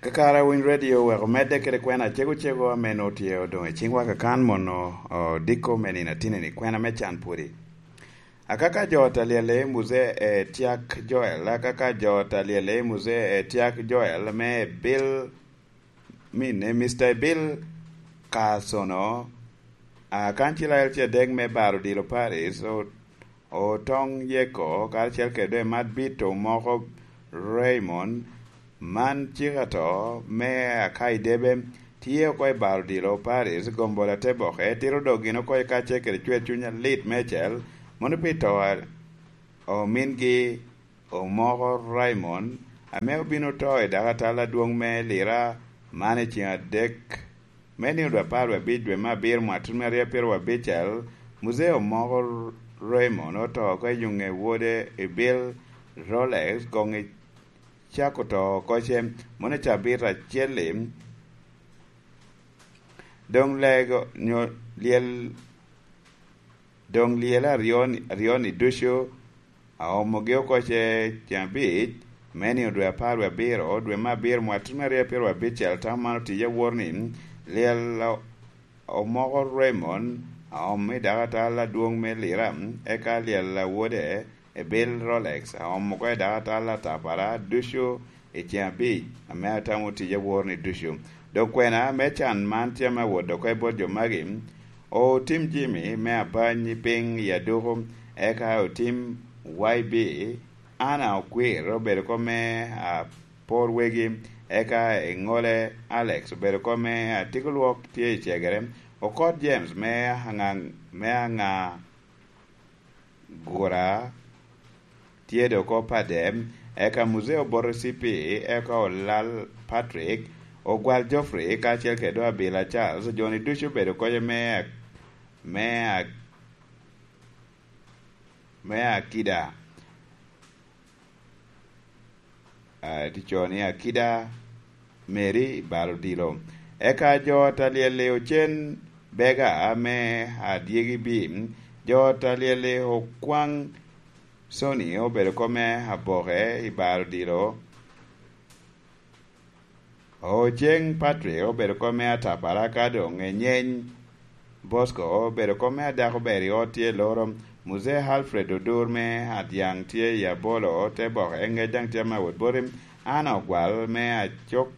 Kakare Winy Radio oweko medde kede kwena acego cego ame nwoŋo tye odoŋ i ciŋwa kakan mono odiko me nino atinni, kwena me can pwodi. Akaka jo ot a lyelle Muzee Etiak Joel, akaka jo ot a lyelle Muzee Etiak Joel me Bill, mine, Mister Bill Kasono, a, kancil ael tye adek me Baro Dilo Paris, o-, Otoŋ Yeko, karacel kede Madbito moko Raymond, man cik ato me Akaidebe, tye oko i bar odilo Paris, Gombol Ateboke tito doggi oko i kacce kede cwer cuny alit meicel, mono pi to a omingi Omoko Raymond, ame obino to i dakatal adwoŋ me Lira man i ceŋ adek me nino dwe apar wie abic dwe me abiro mwatun me aryo apiro wie abicel. Muzee Omoko Raymond oto oko i yuŋe wode i bil Rolex goŋ i cako to oko ce, mono i cabit acel-li. Doŋ lego nyo lyel, doŋ lyel aryo-ni, aryo-ni ducu aomogi oko ce ceŋ abic me nino dwe apar wie abiro, dwe me abiro mwatun me aryo apiro abicel. Tam man otiye awor ni lyel o-, omoko Raymond aomo i dakatal adwoŋ me Lira, eka lyel awode i bil Rolex aomo oko i dakatal atapara ducu i ceŋ abic ame atamo tic awor-ni ducu. Dok kwena me can man tye ame awot oko i bot jo magi, otim Jimmy me abany piny i aduku, eka otim Y B, Anna Okwir obedo oko me apor wegi, eka i ŋole Alex obedo oko me atiko lwok tye i cegere, okot James me aŋa, me aŋa gura tye dok oko Padem, eka Muzee oboto C P, eka Olal Patrick, Ogwal Geoffrey, kacel kede dok Abila Charles, jo-ni ducu obedo oko me, me, me akida. Ah, ticoni akida Mary i bal odilo. Eka jo ot a lyel-li ocen bega me adyegi bim, jo ot a lyel-li okwaŋ Sony obedo oko me aboke i bal odilo. Oceŋ Patrick obedo oko me atapara ka doŋ enyeny. Bosco obedo oko me adako ber i ot tye loro. Muzee Alfred Odur me Adyaŋ tye i abolo te boke, ŋec daŋ tye me awot boti. Anna Ogwal me Acok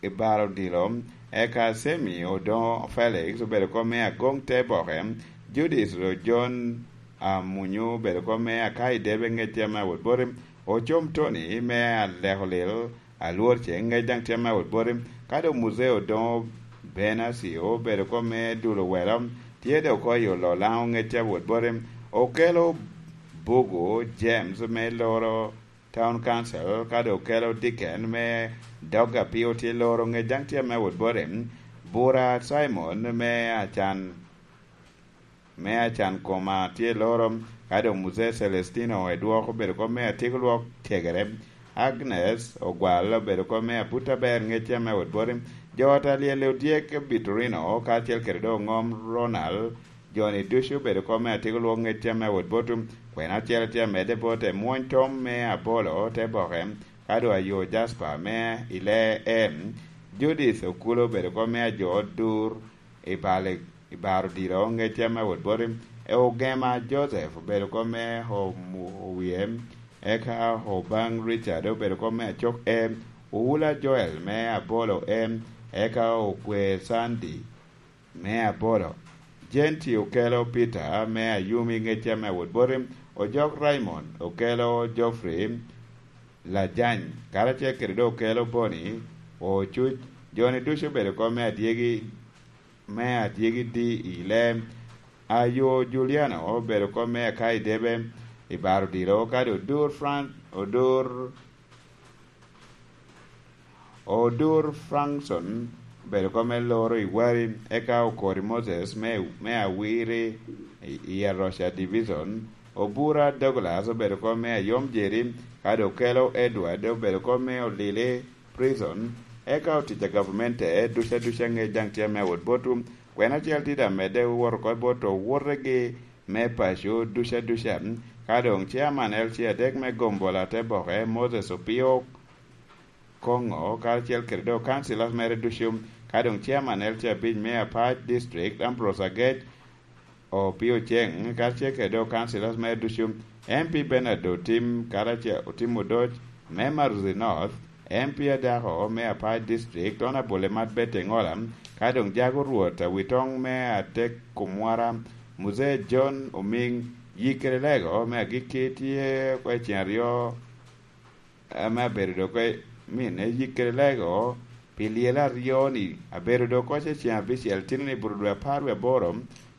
i baro odilo, eka Semi Odoŋo Felix obedo oko me agoŋ te boke. Judith Ojon Amunyu obedo oko me aka i debe, ŋec tye me awot boti. Ocom Tony me aleko lil, Alwor Ceŋ, ŋec daŋ tye me awot boti. Ka doŋ Muzee Odoŋo Benasio obedo oko me dulo welo, tye dok oko i Ololaŋo, ŋec tye awot boti. Okelo Bugu James me loro Town Council, ka doŋ okelo Dicken me dog apio tye loro, ŋec daŋ tye me awot boti. Bura Simon me Acan, me Acan Koma tye loro, ka doŋ Muzee Celestino Edwok obedo oko me atiko lwok cegere. Agnes Ogwal obedo oko me abut aber, ŋec tye me awot boti. Jo ot a lyel-li odyek Bitorino, kacel kede doŋ oŋom Ronald, jo-ni ducu obedo oko me atiko lwok, ŋec tye me awot boti. Kwena acel tye amedde bot emwony tom me abolo te boke, ka doŋ ayo Jasper me i lee em. Judith Okulo obedo oko me ajo dur i bal, i bar odilo, ŋec tye me awot boti. E Ogema Joseph obedo oko me omu-, owie, eka Obaŋ Richard obedo oko me acok em. Owula Joel me abolo em, eka Okwe Sandy me abolo. Jenti okelo Peter me Ayumi, ŋec tye me awot boti. Ojok Raymond okelo Geoffrey Lajany, karacel kede doŋ okelo Boni Ocuc. Jo-ni ducu obedo oko me adyegi, me adyegi di i lem. Ayo Juliano obedo oko me aka i debe i bar odilo, kadi Odur Frank, Odur Odur Frankson obedo oko me loro i Wari, eka Okori Moses me, me Awiri i, i Aroca Division. Obura Douglas obedo oko me Ayom Jeri, kadi okelo Edward obedo oko me Olili Prison. Eka otic a gavamente duca duca, ŋec daŋ tye me awot botwu. Kwena acel tye daŋ medde wot oko bot owotegi me paco duca duca. Ka doŋ chairman L C adek me Gombola te boke, Moses Opio Koŋo, karacel kede doŋ councillors mere ducu, ka doŋ chairman L C abic me Apac District, Ambrose Agec Opio Ceng, karacel kede doŋ councillors mere ducu, M P Bernard Otim, karacel Otim Odoc, me Maruzi North, M P adako me Apac District, Honourable Emat Betty Engola, ka doŋ jago Rwot Awitoŋ me Atek Kumwara, Muzee John Omiŋ. Yikkere lego me agikki tye oko i ceŋ aryo, ame abedo dok oko i minne. Yikkere lego Pi lyel aryo-ni, abedo dok oko i ceŋ abicel, tino ni buto dwe apar wie aboro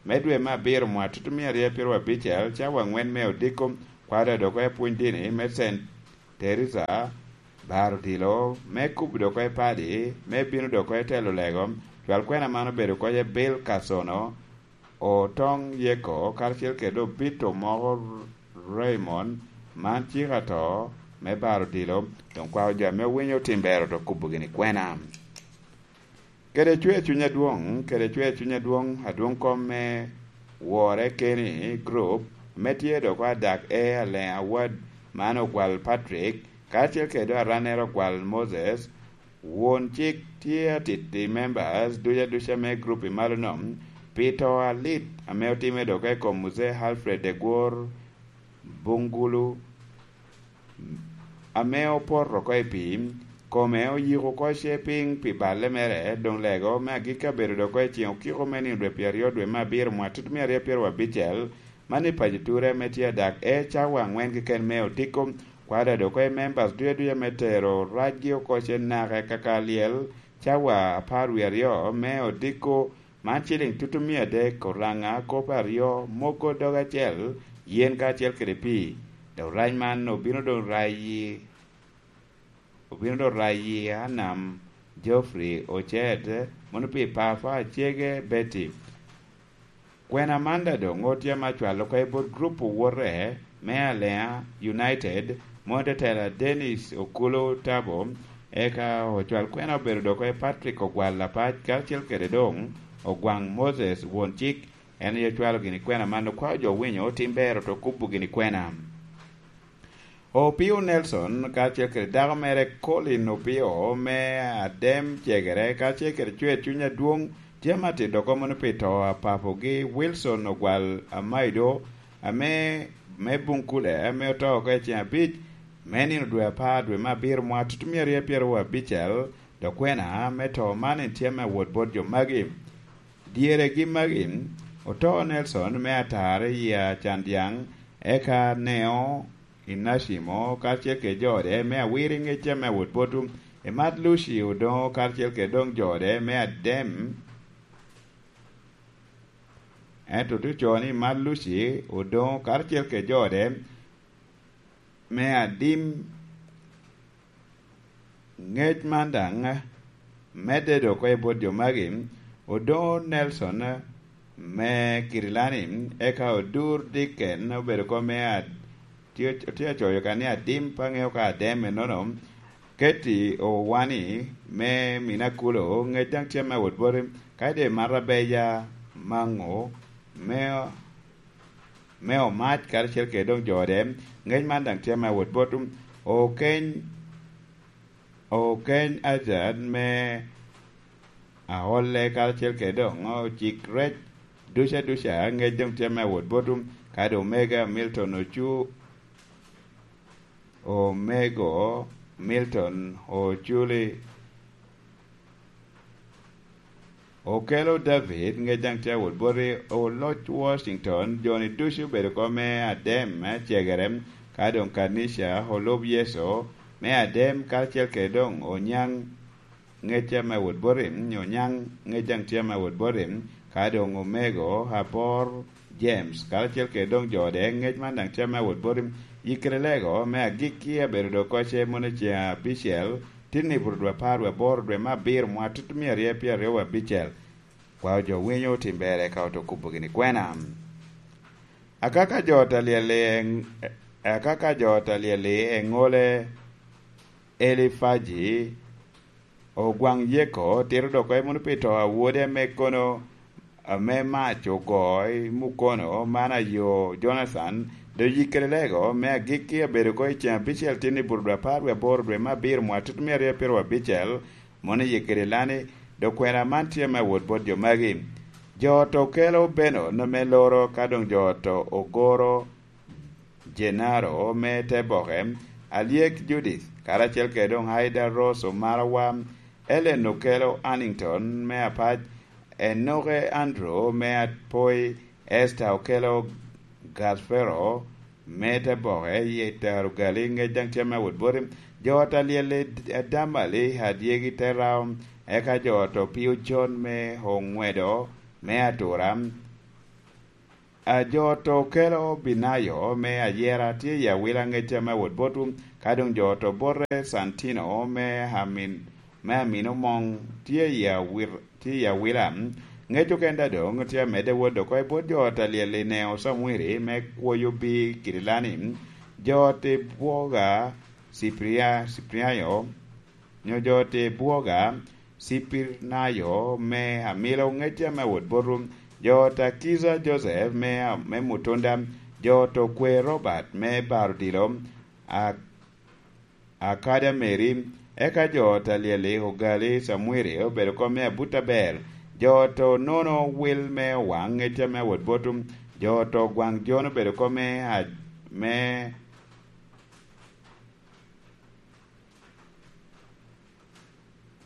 me dwe me abiro, mwaka tutumia aryo apiro abicel, cawa aŋwen me odiko, kwaro dok oko i pwony dini me Saint Teresa, baro odilo me kubo dok oko i padi, me bino dok oko i telo lego. Cwal kwena man obedo oko i Bill Kasono, Otoŋ Yeko, karacel kede obito moko Raymond, man cik ato me baro odilo, doŋ kwao jo ame owinyo tim bero to kubo gini kwena. Kede cwer cuny adwoŋ, kede cwer cuny adwoŋ, adwoŋ kom me wore keni group, me tye dok adak e Aleŋ Awad, man ogwal Patrick, karacel kede arannere ogwal Moses, won cik tye atiti members duca duca me group i malo nom, pi to alit ame otime dok i kom Muzee Alfred Egwor Bungulu, ame opoto oko i pii, kome oyiko oko ce piny pi balle mere, doŋ lego me agikki abedo dok oko i ceŋ okiko me nino dwe pyeraryo dwe me abiro mwaka tutumia aryo apiro abicel, man i paco ture ame tye adak e cawa aŋwen keken me odiko, kwada dok oko i members duca duca me tero racgi oko ce naka kaka lyel, cawa apar wie aryo me odiko, man ciliŋ tutumia adek, oraŋa kop aryo, mogo dog acel, yen kacel kede pii. Dok rac man obino doŋ rayi, obino doŋ rayi Anam, Geoffrey, Ocet, mono pi Papa, Acege, Betty. Kwena man da doŋ otye ame acwalo oko i bot grup owote me Alea United, mono tetela Dennis Okulu Tabo, eka ocwal kwena obedo dok oko i Patrick Ogwal Apac, karacel kede doŋ Ogwaŋ Moses, won cik, en aye ocwalo gini kwena man, okwao jo winyo tim bero to kubo gini kwena. Opio Nelson karacel kede dako mere Colin Opio me Adem Cegere, karacel kede cwer cuny adwoŋ, tye ame atito oko mono pi to a papogi Wilson Ogwal Amaido, ame me Bunkule, ame oto oko i ceŋ abic me nino dwe apar, dwe me abiro, mwaka tutumia aryo apyeru abicel, dok kwena me to man en tye ame awot bot jo magi. Dyeregi magi, oto Nelson me Atare i Acandyaŋ, eka Neo Inacimo karacel kede jo ode me Awiro i ŋec ame awot botwu, Emat Luci Odoŋo karacel kede doŋ jo ode me Adem, ento tye ocoo ni Emat Luci Odoŋo karacel kede jo ode me Adim. Ŋec man daŋ medde dok oko i bot jo magi, Odoŋo Nelson me Kirilani, eka Odur Dicken obedo oko me Ad-, tye, tye acoyo ka ni Adim, pe aŋeo ka Adem ennono, Keti Owani me Minakulo, ŋec daŋ tye me wot boti, ka ide Marabeja Maŋo me, me Omac karacel kede doŋ jo ode, ŋec man daŋ tye me wot bot Okeny, Okeny Ajad me Aolle karacel kede doŋ Ocik Rec duca duca, ŋec doŋ tye me wot bot, ka doŋ Omega Milton Ocu-, Omego Milton Oculi. Okelo David, ŋec daŋ tye awot boti, oloc Washington, joni ducu obedo oko me Adem, me Cegere, ka doŋ Kanica, olub Yecu, me Adem, karacel kede doŋ Onyaŋ, ŋec tye me wot boti, Onyaŋ, ŋec daŋ tye me wot boti, ka doŋ Omego, Abor, James, karacel kede doŋ jo ode, ŋec man daŋ tye me wot boti, Yikrelego, me agikki abedo dok oko ce mono i ceŋ abicel, tin i buto dwe apar wie aboro dwe me abiro mwaka tutumia aryo apyer aryo wie abicel. Kwao jo winyo otim bere ka oto kubo gini kwena. Akaka jo ot alyel i, akaka jo ot alyel i eŋole Elifaji, Ogwaŋ Yeko, tito dok oko mono pi to a wode ame kono, ame mac ogo i mukono, man ayo Jonathan, dok Yikrelego, me agikki abedo oko i ceŋ abicel tin i buto dwe apar wie aboro dwe me abiro mwaka tutumia aryo apiro abicel, mono Yikrelani, dok kwena man tye me awot bot jo magi. Jo ot okelo Benon me loro, ka doŋ jo ot ogoro Jenaro me te boke, Alyek Judith, karacel kede doŋ Aida Rose Omarawa, Ellen Okello Annington me Apac, Enoke Andrew me Apoi, Esther Okello Gasfero, me te boke i tero gali ŋec daŋ tye me wot boti. Jo ot alyel i Adamali, Adyegi, Terao, eka jo ot Opio John me Oŋwedo me Atura. A jo ot Okelo Binayo me Ayera tye i Awila ŋec tye me wot botwu, ka doŋ jo ot Obote Santino me Amin, me Amino Moŋ tye i Awir-, tye i Awila. Ŋec oken daŋ doŋ tye amedde wot oko i bot jo ot alyel i Neo Samwiri me kwoyo bi Kirilani, jo ot Bwoga Cipria-, Cipriayo, nyo jo ot Bwoga Cipirnayo me Amilo ŋec ame wot botwu, jo ot Akiza Joseph me, me Mutunda, jo ot Okwe Robert me Baro Dilo, a-, Akada Mary, eka jo ot alyel i Ogali Samwiri obedo kom me abut aber, jo ot Onono Wil me Owaŋ ŋec ame wot botwu, jo ot Ogwaŋ Jon obedo kom me a-, me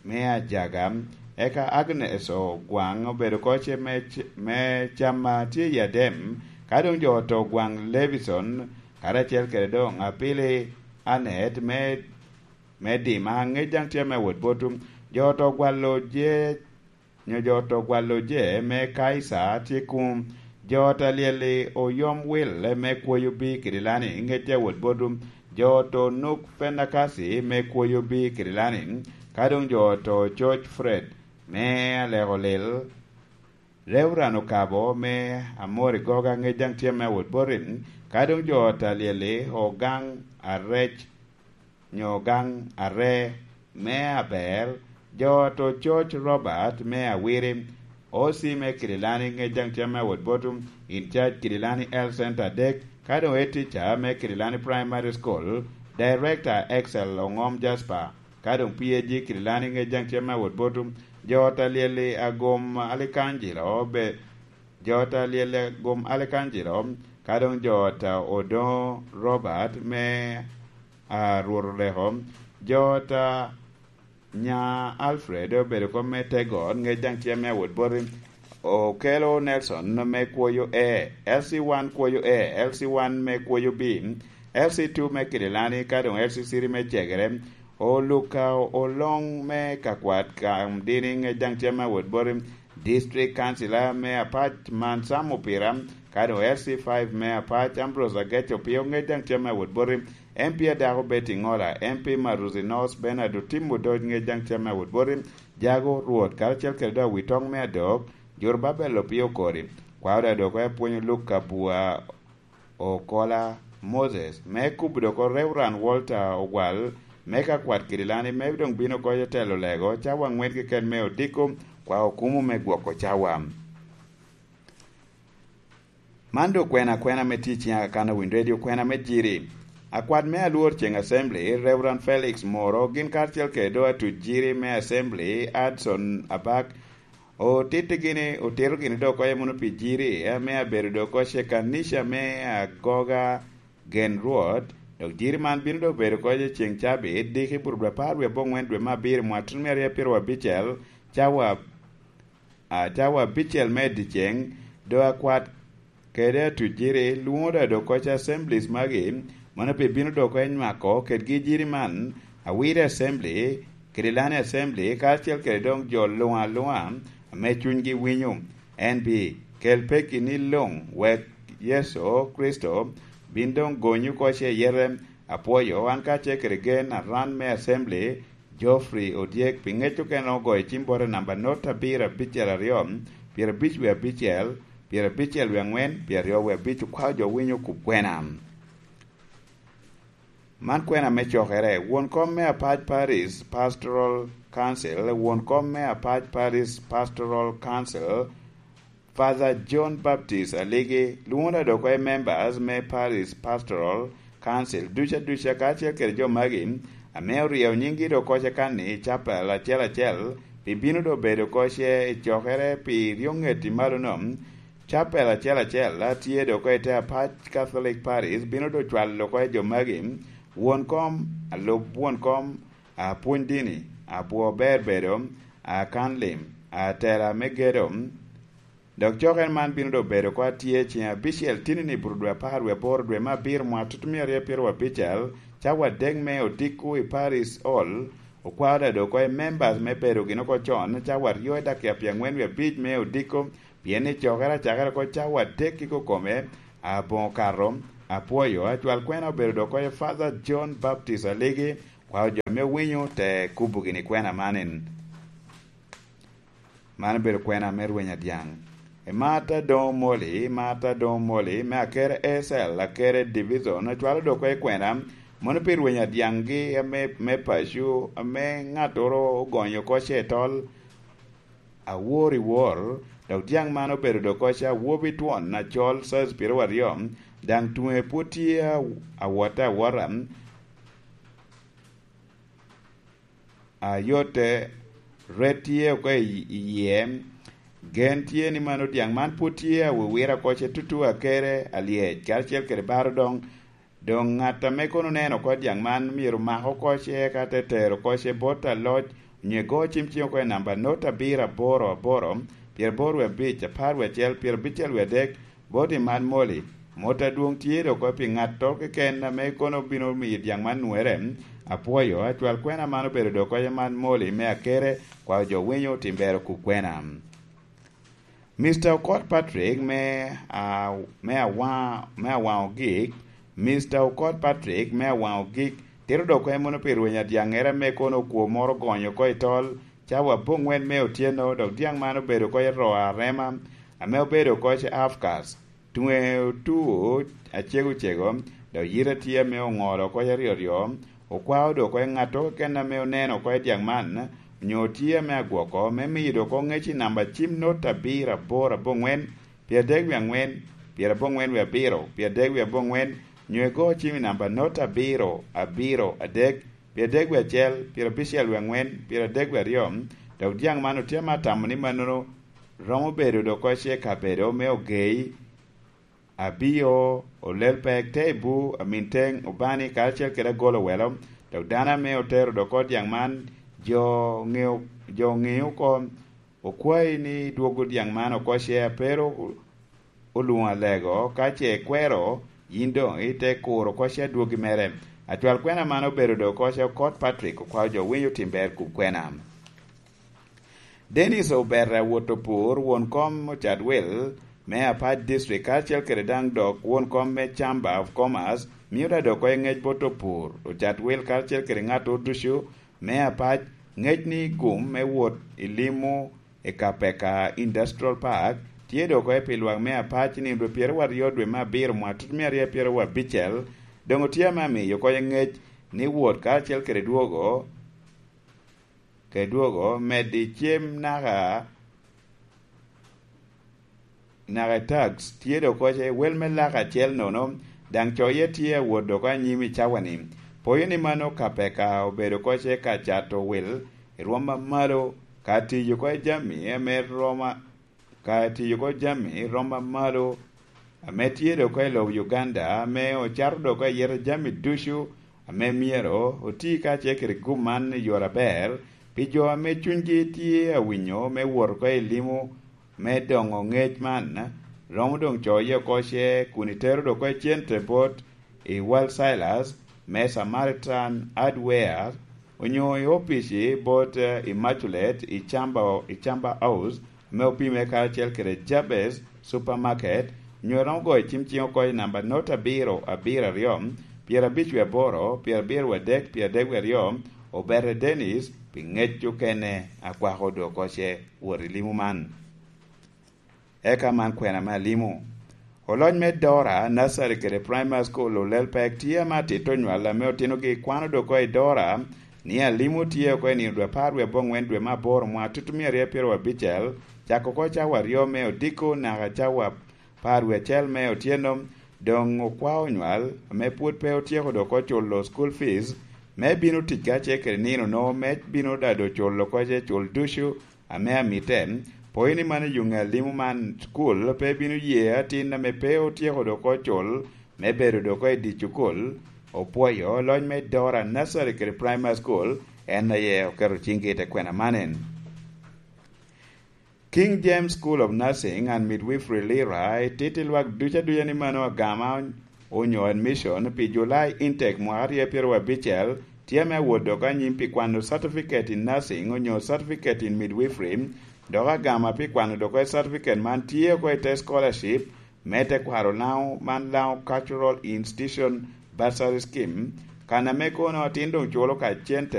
me Ajaga, eka Agnes Ogwaŋ obedo koce me c-, me Cama tye i Adem, ka doŋ jo ot Ogwaŋ Levison, karacel kede doŋ Apili Anet me, me Dima, ŋec daŋ tye me wot botwu, jo ot Ogwalo Jec, nyo jo ot Ogwalo Je me Kaisa tye kuŋ, jo ot alyel i Oyom Wil me kwoyo bi Kirilani ŋec tye wot botwu, jo ot Onuk Penakasi me kwoyo bi Kirilani, ka doŋ jo ot Ococ Fred me Aleko Lil, Reuran Okabo me Amori Goga ŋec daŋ tye me wot boti, ka doŋ jo ot alyel i Ogaŋ Arec nyo Ogaŋ Are me Aber, jo ot Ococ Robert me Awiri, O C me Kirilani ŋec daŋ tye me wot botwu, in charge Kirilani Health Center adek, ka doŋ head teacher me Kirilani Primary School, Director Excel Oŋom Jasper, ka doŋ P A G Kirilani ŋec daŋ tye me wot botwu, jo ot alyel i Agom Alikanjilo be, jo ot alyel i Agom Alikanjilo, ka doŋ jo ot Odoŋo Robert me, a, Rwot Oleko, jo ot Nya Alfred obedo kom me tego ot, ŋec daŋ tye me awot boti. Okelo Nelson me kwoyo A, L C one kwoyo A, L C one me kwoyo B, L C two me Kirilani, ka doŋ L C three me Cegere. Oluka Oloŋ me Kakwat Kamdini, ŋec daŋ tye me awot boti. District Councilor me Apac man Sam Opira, ka doŋ L C five me Apac Ambrose Agec Opio, ŋec daŋ tye me awot boti. M P adako Betty Ŋola, M P Maruzi North Bernard Otimmo Doc, ŋec daŋ tye me awot boti. Jago Rwot, karacel kede doŋ Awitoŋ me Adok, Jorubabel Opio Kori, kwao daŋ dok apwonyo Luke Kabua Okola Moses, me kubo dok Reverend Walter Ogwal, me Kakwat Kirilani, me doŋ bino oko i telo lego, cawa aŋwen keken me odiko, kwao okumo me gwoko cawa. Man doŋ kwena akwena me tic i Aga Khan Awiny Radio, kwena me Jiri. Akwat me Alwor Ceŋ Assembly, Reverend Felix Moro, gin karacel kede doŋ atuc Jiri me Assembly, Adson Abak, otitti gini, otito gini doŋ oko i muno pi Jiri, ame abedo doŋ oko ce kanica me Agoga Gen Rwot, dok Jiri man bino doŋ bedo oko i ceŋ cabit, diki bur dwe apar wie aboŋwen dwe me abiro, mwakit me aryo apiro abicel, cawa a, cawa abicel me dyeceŋ, doŋ akwat kede atuc Jiri, lwoŋo daŋ dok oko i assemblies magi, mano pi bino dok oko i nywako kedgi Jiri man, Awiri Assembly, Kirilani Assembly, karacel kede doŋ jo luŋ aluŋa ame cunygi winyo. En bi kel pekki ni luŋ, wek Yecu Kricito bin doŋ gony oko ce yete. Apwoyo, an kacel kede gen aran me Assembly, Geoffrey Odyek, pi ŋec okene ogoyo cim bote namba not abiro abicel aryo, pyerabic wie abicel, pyerabicel wie aŋwen, pyeraryo wie abic, okwao jo winyo kub kwena. Man kwena me cokere, won kom me Apac Parish Pastoral Council, won kom me Apac Parish Pastoral Council, Father John Baptist Aligi, lwoŋo daŋ dok oko i members me Parish Pastoral Council duca duca, kacel kede jo magi ame oryeyo nyinggi dok oko ce kan-ni i capel acel acel, pi bino doŋ bedo oko ce i cokere pi ryo ŋet i malo-nu. Capel acel acel a tye dok oko i te Apac Catholic Parish bino doŋ cwalo oko i jo magi: won kom, alub won kom, apwony dini, abwo ber bedo, akan lim, atela me gedo, Dok cokere man bino doŋ bedo oko atye ceŋ abicel tinini i buto dwe apar wie aboro dwe me abiro mwaka tutumia aryo pyeraryo abicel, cawa adek me odiko i Paris Hall. Okwao daŋ doŋ oko i members me bedo gin oko con, cawa aryo i dakika pye aŋwen wie abic me odiko, pien ni cokere acakere oko cawa adek i kokome. Aboŋo kato, apwoyo, acwal kwena obedo doŋ oko i Father John Baptist Aligi, kwao jo ame owinyo te kubo gini kwena man en. Man obedo kwena me rweny adyaŋ. E Martha Doŋ Moli, Martha Doŋ Moli, me Akere A C L, Akere Division, ocwalo dok i kwena, mono pi rweny adyaŋgi ame, me paco, ame ŋattoro ogonyo oko ce i tol, awor i wor, dok dyaŋ man obedo dok oko ce awobi twon acol size pyeraryo aryo, daŋ tuŋe pwod tye a-, awotte awota. A yotte, ret tye oko i, i yie. Gen tye ni mano dyaŋ man pwod tye awiwira oko ce tutu Akere alyec, karacel kede baro doŋ. Doŋ ŋat ame kono oneno oko dyaŋ man myero mak oko ce, eka te tero oko ce bot aloc, onyo ego cim cing oko i namba not abiro aboro aboro, pyeraboro wie abic, apar wie acel, pyerabicel wie adek, bot i man Moli, mot adwoŋ tye dok oko pi ŋattoro keken ame kono bino miyo dyaŋ man nwere. Apwoyo, acwal kwena man obedo dok oko i man Moli me Akere, kwao jo winyo tim ber okub kwena. Mister Okot Patrick me, a, me Awa-, me Awaŋ Ogik, Mister Okot Patrick me Awaŋ Ogik, tito dok oko mono pi rweny adyaŋere ame kono okwo moro ogonyo oko i tol, cawa aboŋwen me otyeno, dok dyaŋ man obedo oko i Roa Arema, ame obedo oko i Afkas. Tuŋe otuo acego cego, dok yite tye ame oŋolo oko aryo aryo, okwao dok oko ŋattoro keken ame oneno oko dyaŋ man, onyo tye ame agwoko, me miyo dok oko ŋec i namba cim not abiro aboro aboŋwen, pyeraboro wie aŋwen, pyeraboro wie abiro, pyeraboro wie aboŋwen, onyo igo cim i namba not abiro, abiro, adek, pyeraboro wie acel, pyerabicel wie aŋwen, pyeraboro wie aryo, dok dyaŋ man otye ame atamo ni mannono romo bedo dok oko ce kabedo me ogei, Abio, Olel Pek, Teibu, Aminteŋ, Obani, karacel kede Agolo Welo, dok dano ame otero dok oko dyaŋ man, jo ŋeo, jo ŋeo oko, okwayi ni dwogo dyaŋ man oko ce a pe ru olwoŋo alego, ka ce ikwero, yin doŋ ite kuro oko ce adwogi mere. Acwal kwena man obedo dok oko ce Okot Patrick, okwao jo winyo tim ber kub kwena. Dennis Oberra Wotopur, won kom Ocatwil me Apac District, karacel kede daŋ dok won kom me Chamber of Commerce, mio daŋ dok oko i ŋec bot opur, Ocatwil, karacel kede ŋattoro ducu me Apac, ŋec ni gum me wot i limo i Kapeka Industrial Park, tye dok oko pi lwak me Apac i nino dwe pyeraryo dwe me abiro mwaka tutumia aryo pyeraryo abicel, doŋ otye ame amiyo oko i ŋec ni wot karacel kede dwogo, kede dwogo, medo i cem naka, naka i tax, tye dok oko ce wel me lak acel nono, daŋ coye tye awot dok anyim i cawa-ni. Poyo ni mano Kapeka obedo oko ce ka cato wil i rwom amalo, ka tiyo oko i jami ame roma, ka tiyo oko jami roma malo, ame tye dok oko i lobo Uganda, ame ocato dok oko i yete jami ducu, ame myero oti kacel kede gum man i yore aber, pi jo ame cunygi tye awinyo me wot oko i limo me doŋo ŋec man, romo doŋ coye oko ce kun itero dok oko i cente bot i Wal Silas me Samaritan Hardware, onyo i opici bot, eh, Immaculate i Chamba, i Chamba House, ame opime karacel kede Jabez Supermarket, nyo romo goyo cim cing oko i namba not abiro, abiro aryo, pyerabic wie aboro, pyerabiro wie adek, pyeradek wie aryo, Obere Dennis, pi ŋec okene, akwako dok oko ce wot i limo man. Eka man kwena me alimo. Oloc me Dora Nursery kede Primary School Olel Pek tye ame atito onywal ame otinogi kwano dok oko i Dora ni alimo tye oko i nino dwe apar wie aboŋwen dwe me aboro mwaka tutumia aryo pyeraryo abicel, cako oko cawa aryo me odiko naka cawa apar wie acel me otyeno, doŋ okwao onywal ame pwod pe otyeko dok oko culo school fees, me bino tic kacel kede nino no, me bino dado culo oko ce cul ducu ame amite, poyo ni mano i yo ŋe alimo man, cukul pe bino ye atin ame pe otyeko dok ocul me bedo dok i dye cukul. Opwoyo loc me Dora Nursery kede Primary School, en aye oketo ciŋgi i te kwena man en. King James School of Nursing and Midwifery Lira etito i lwak duc aduca ni mano agama onyo admission pi July intake mwaka aryo pyeraryo abicel tye ame awot dok anyim pi kwano certificate in nursing onyo certificate in midwifery, dok agama pi kwano dok certificate man tye oko i te scholarship me tekwaro Lango man Lango Cultural Institution Bursary Scheme, kan ame kono atin doŋ culo ka cente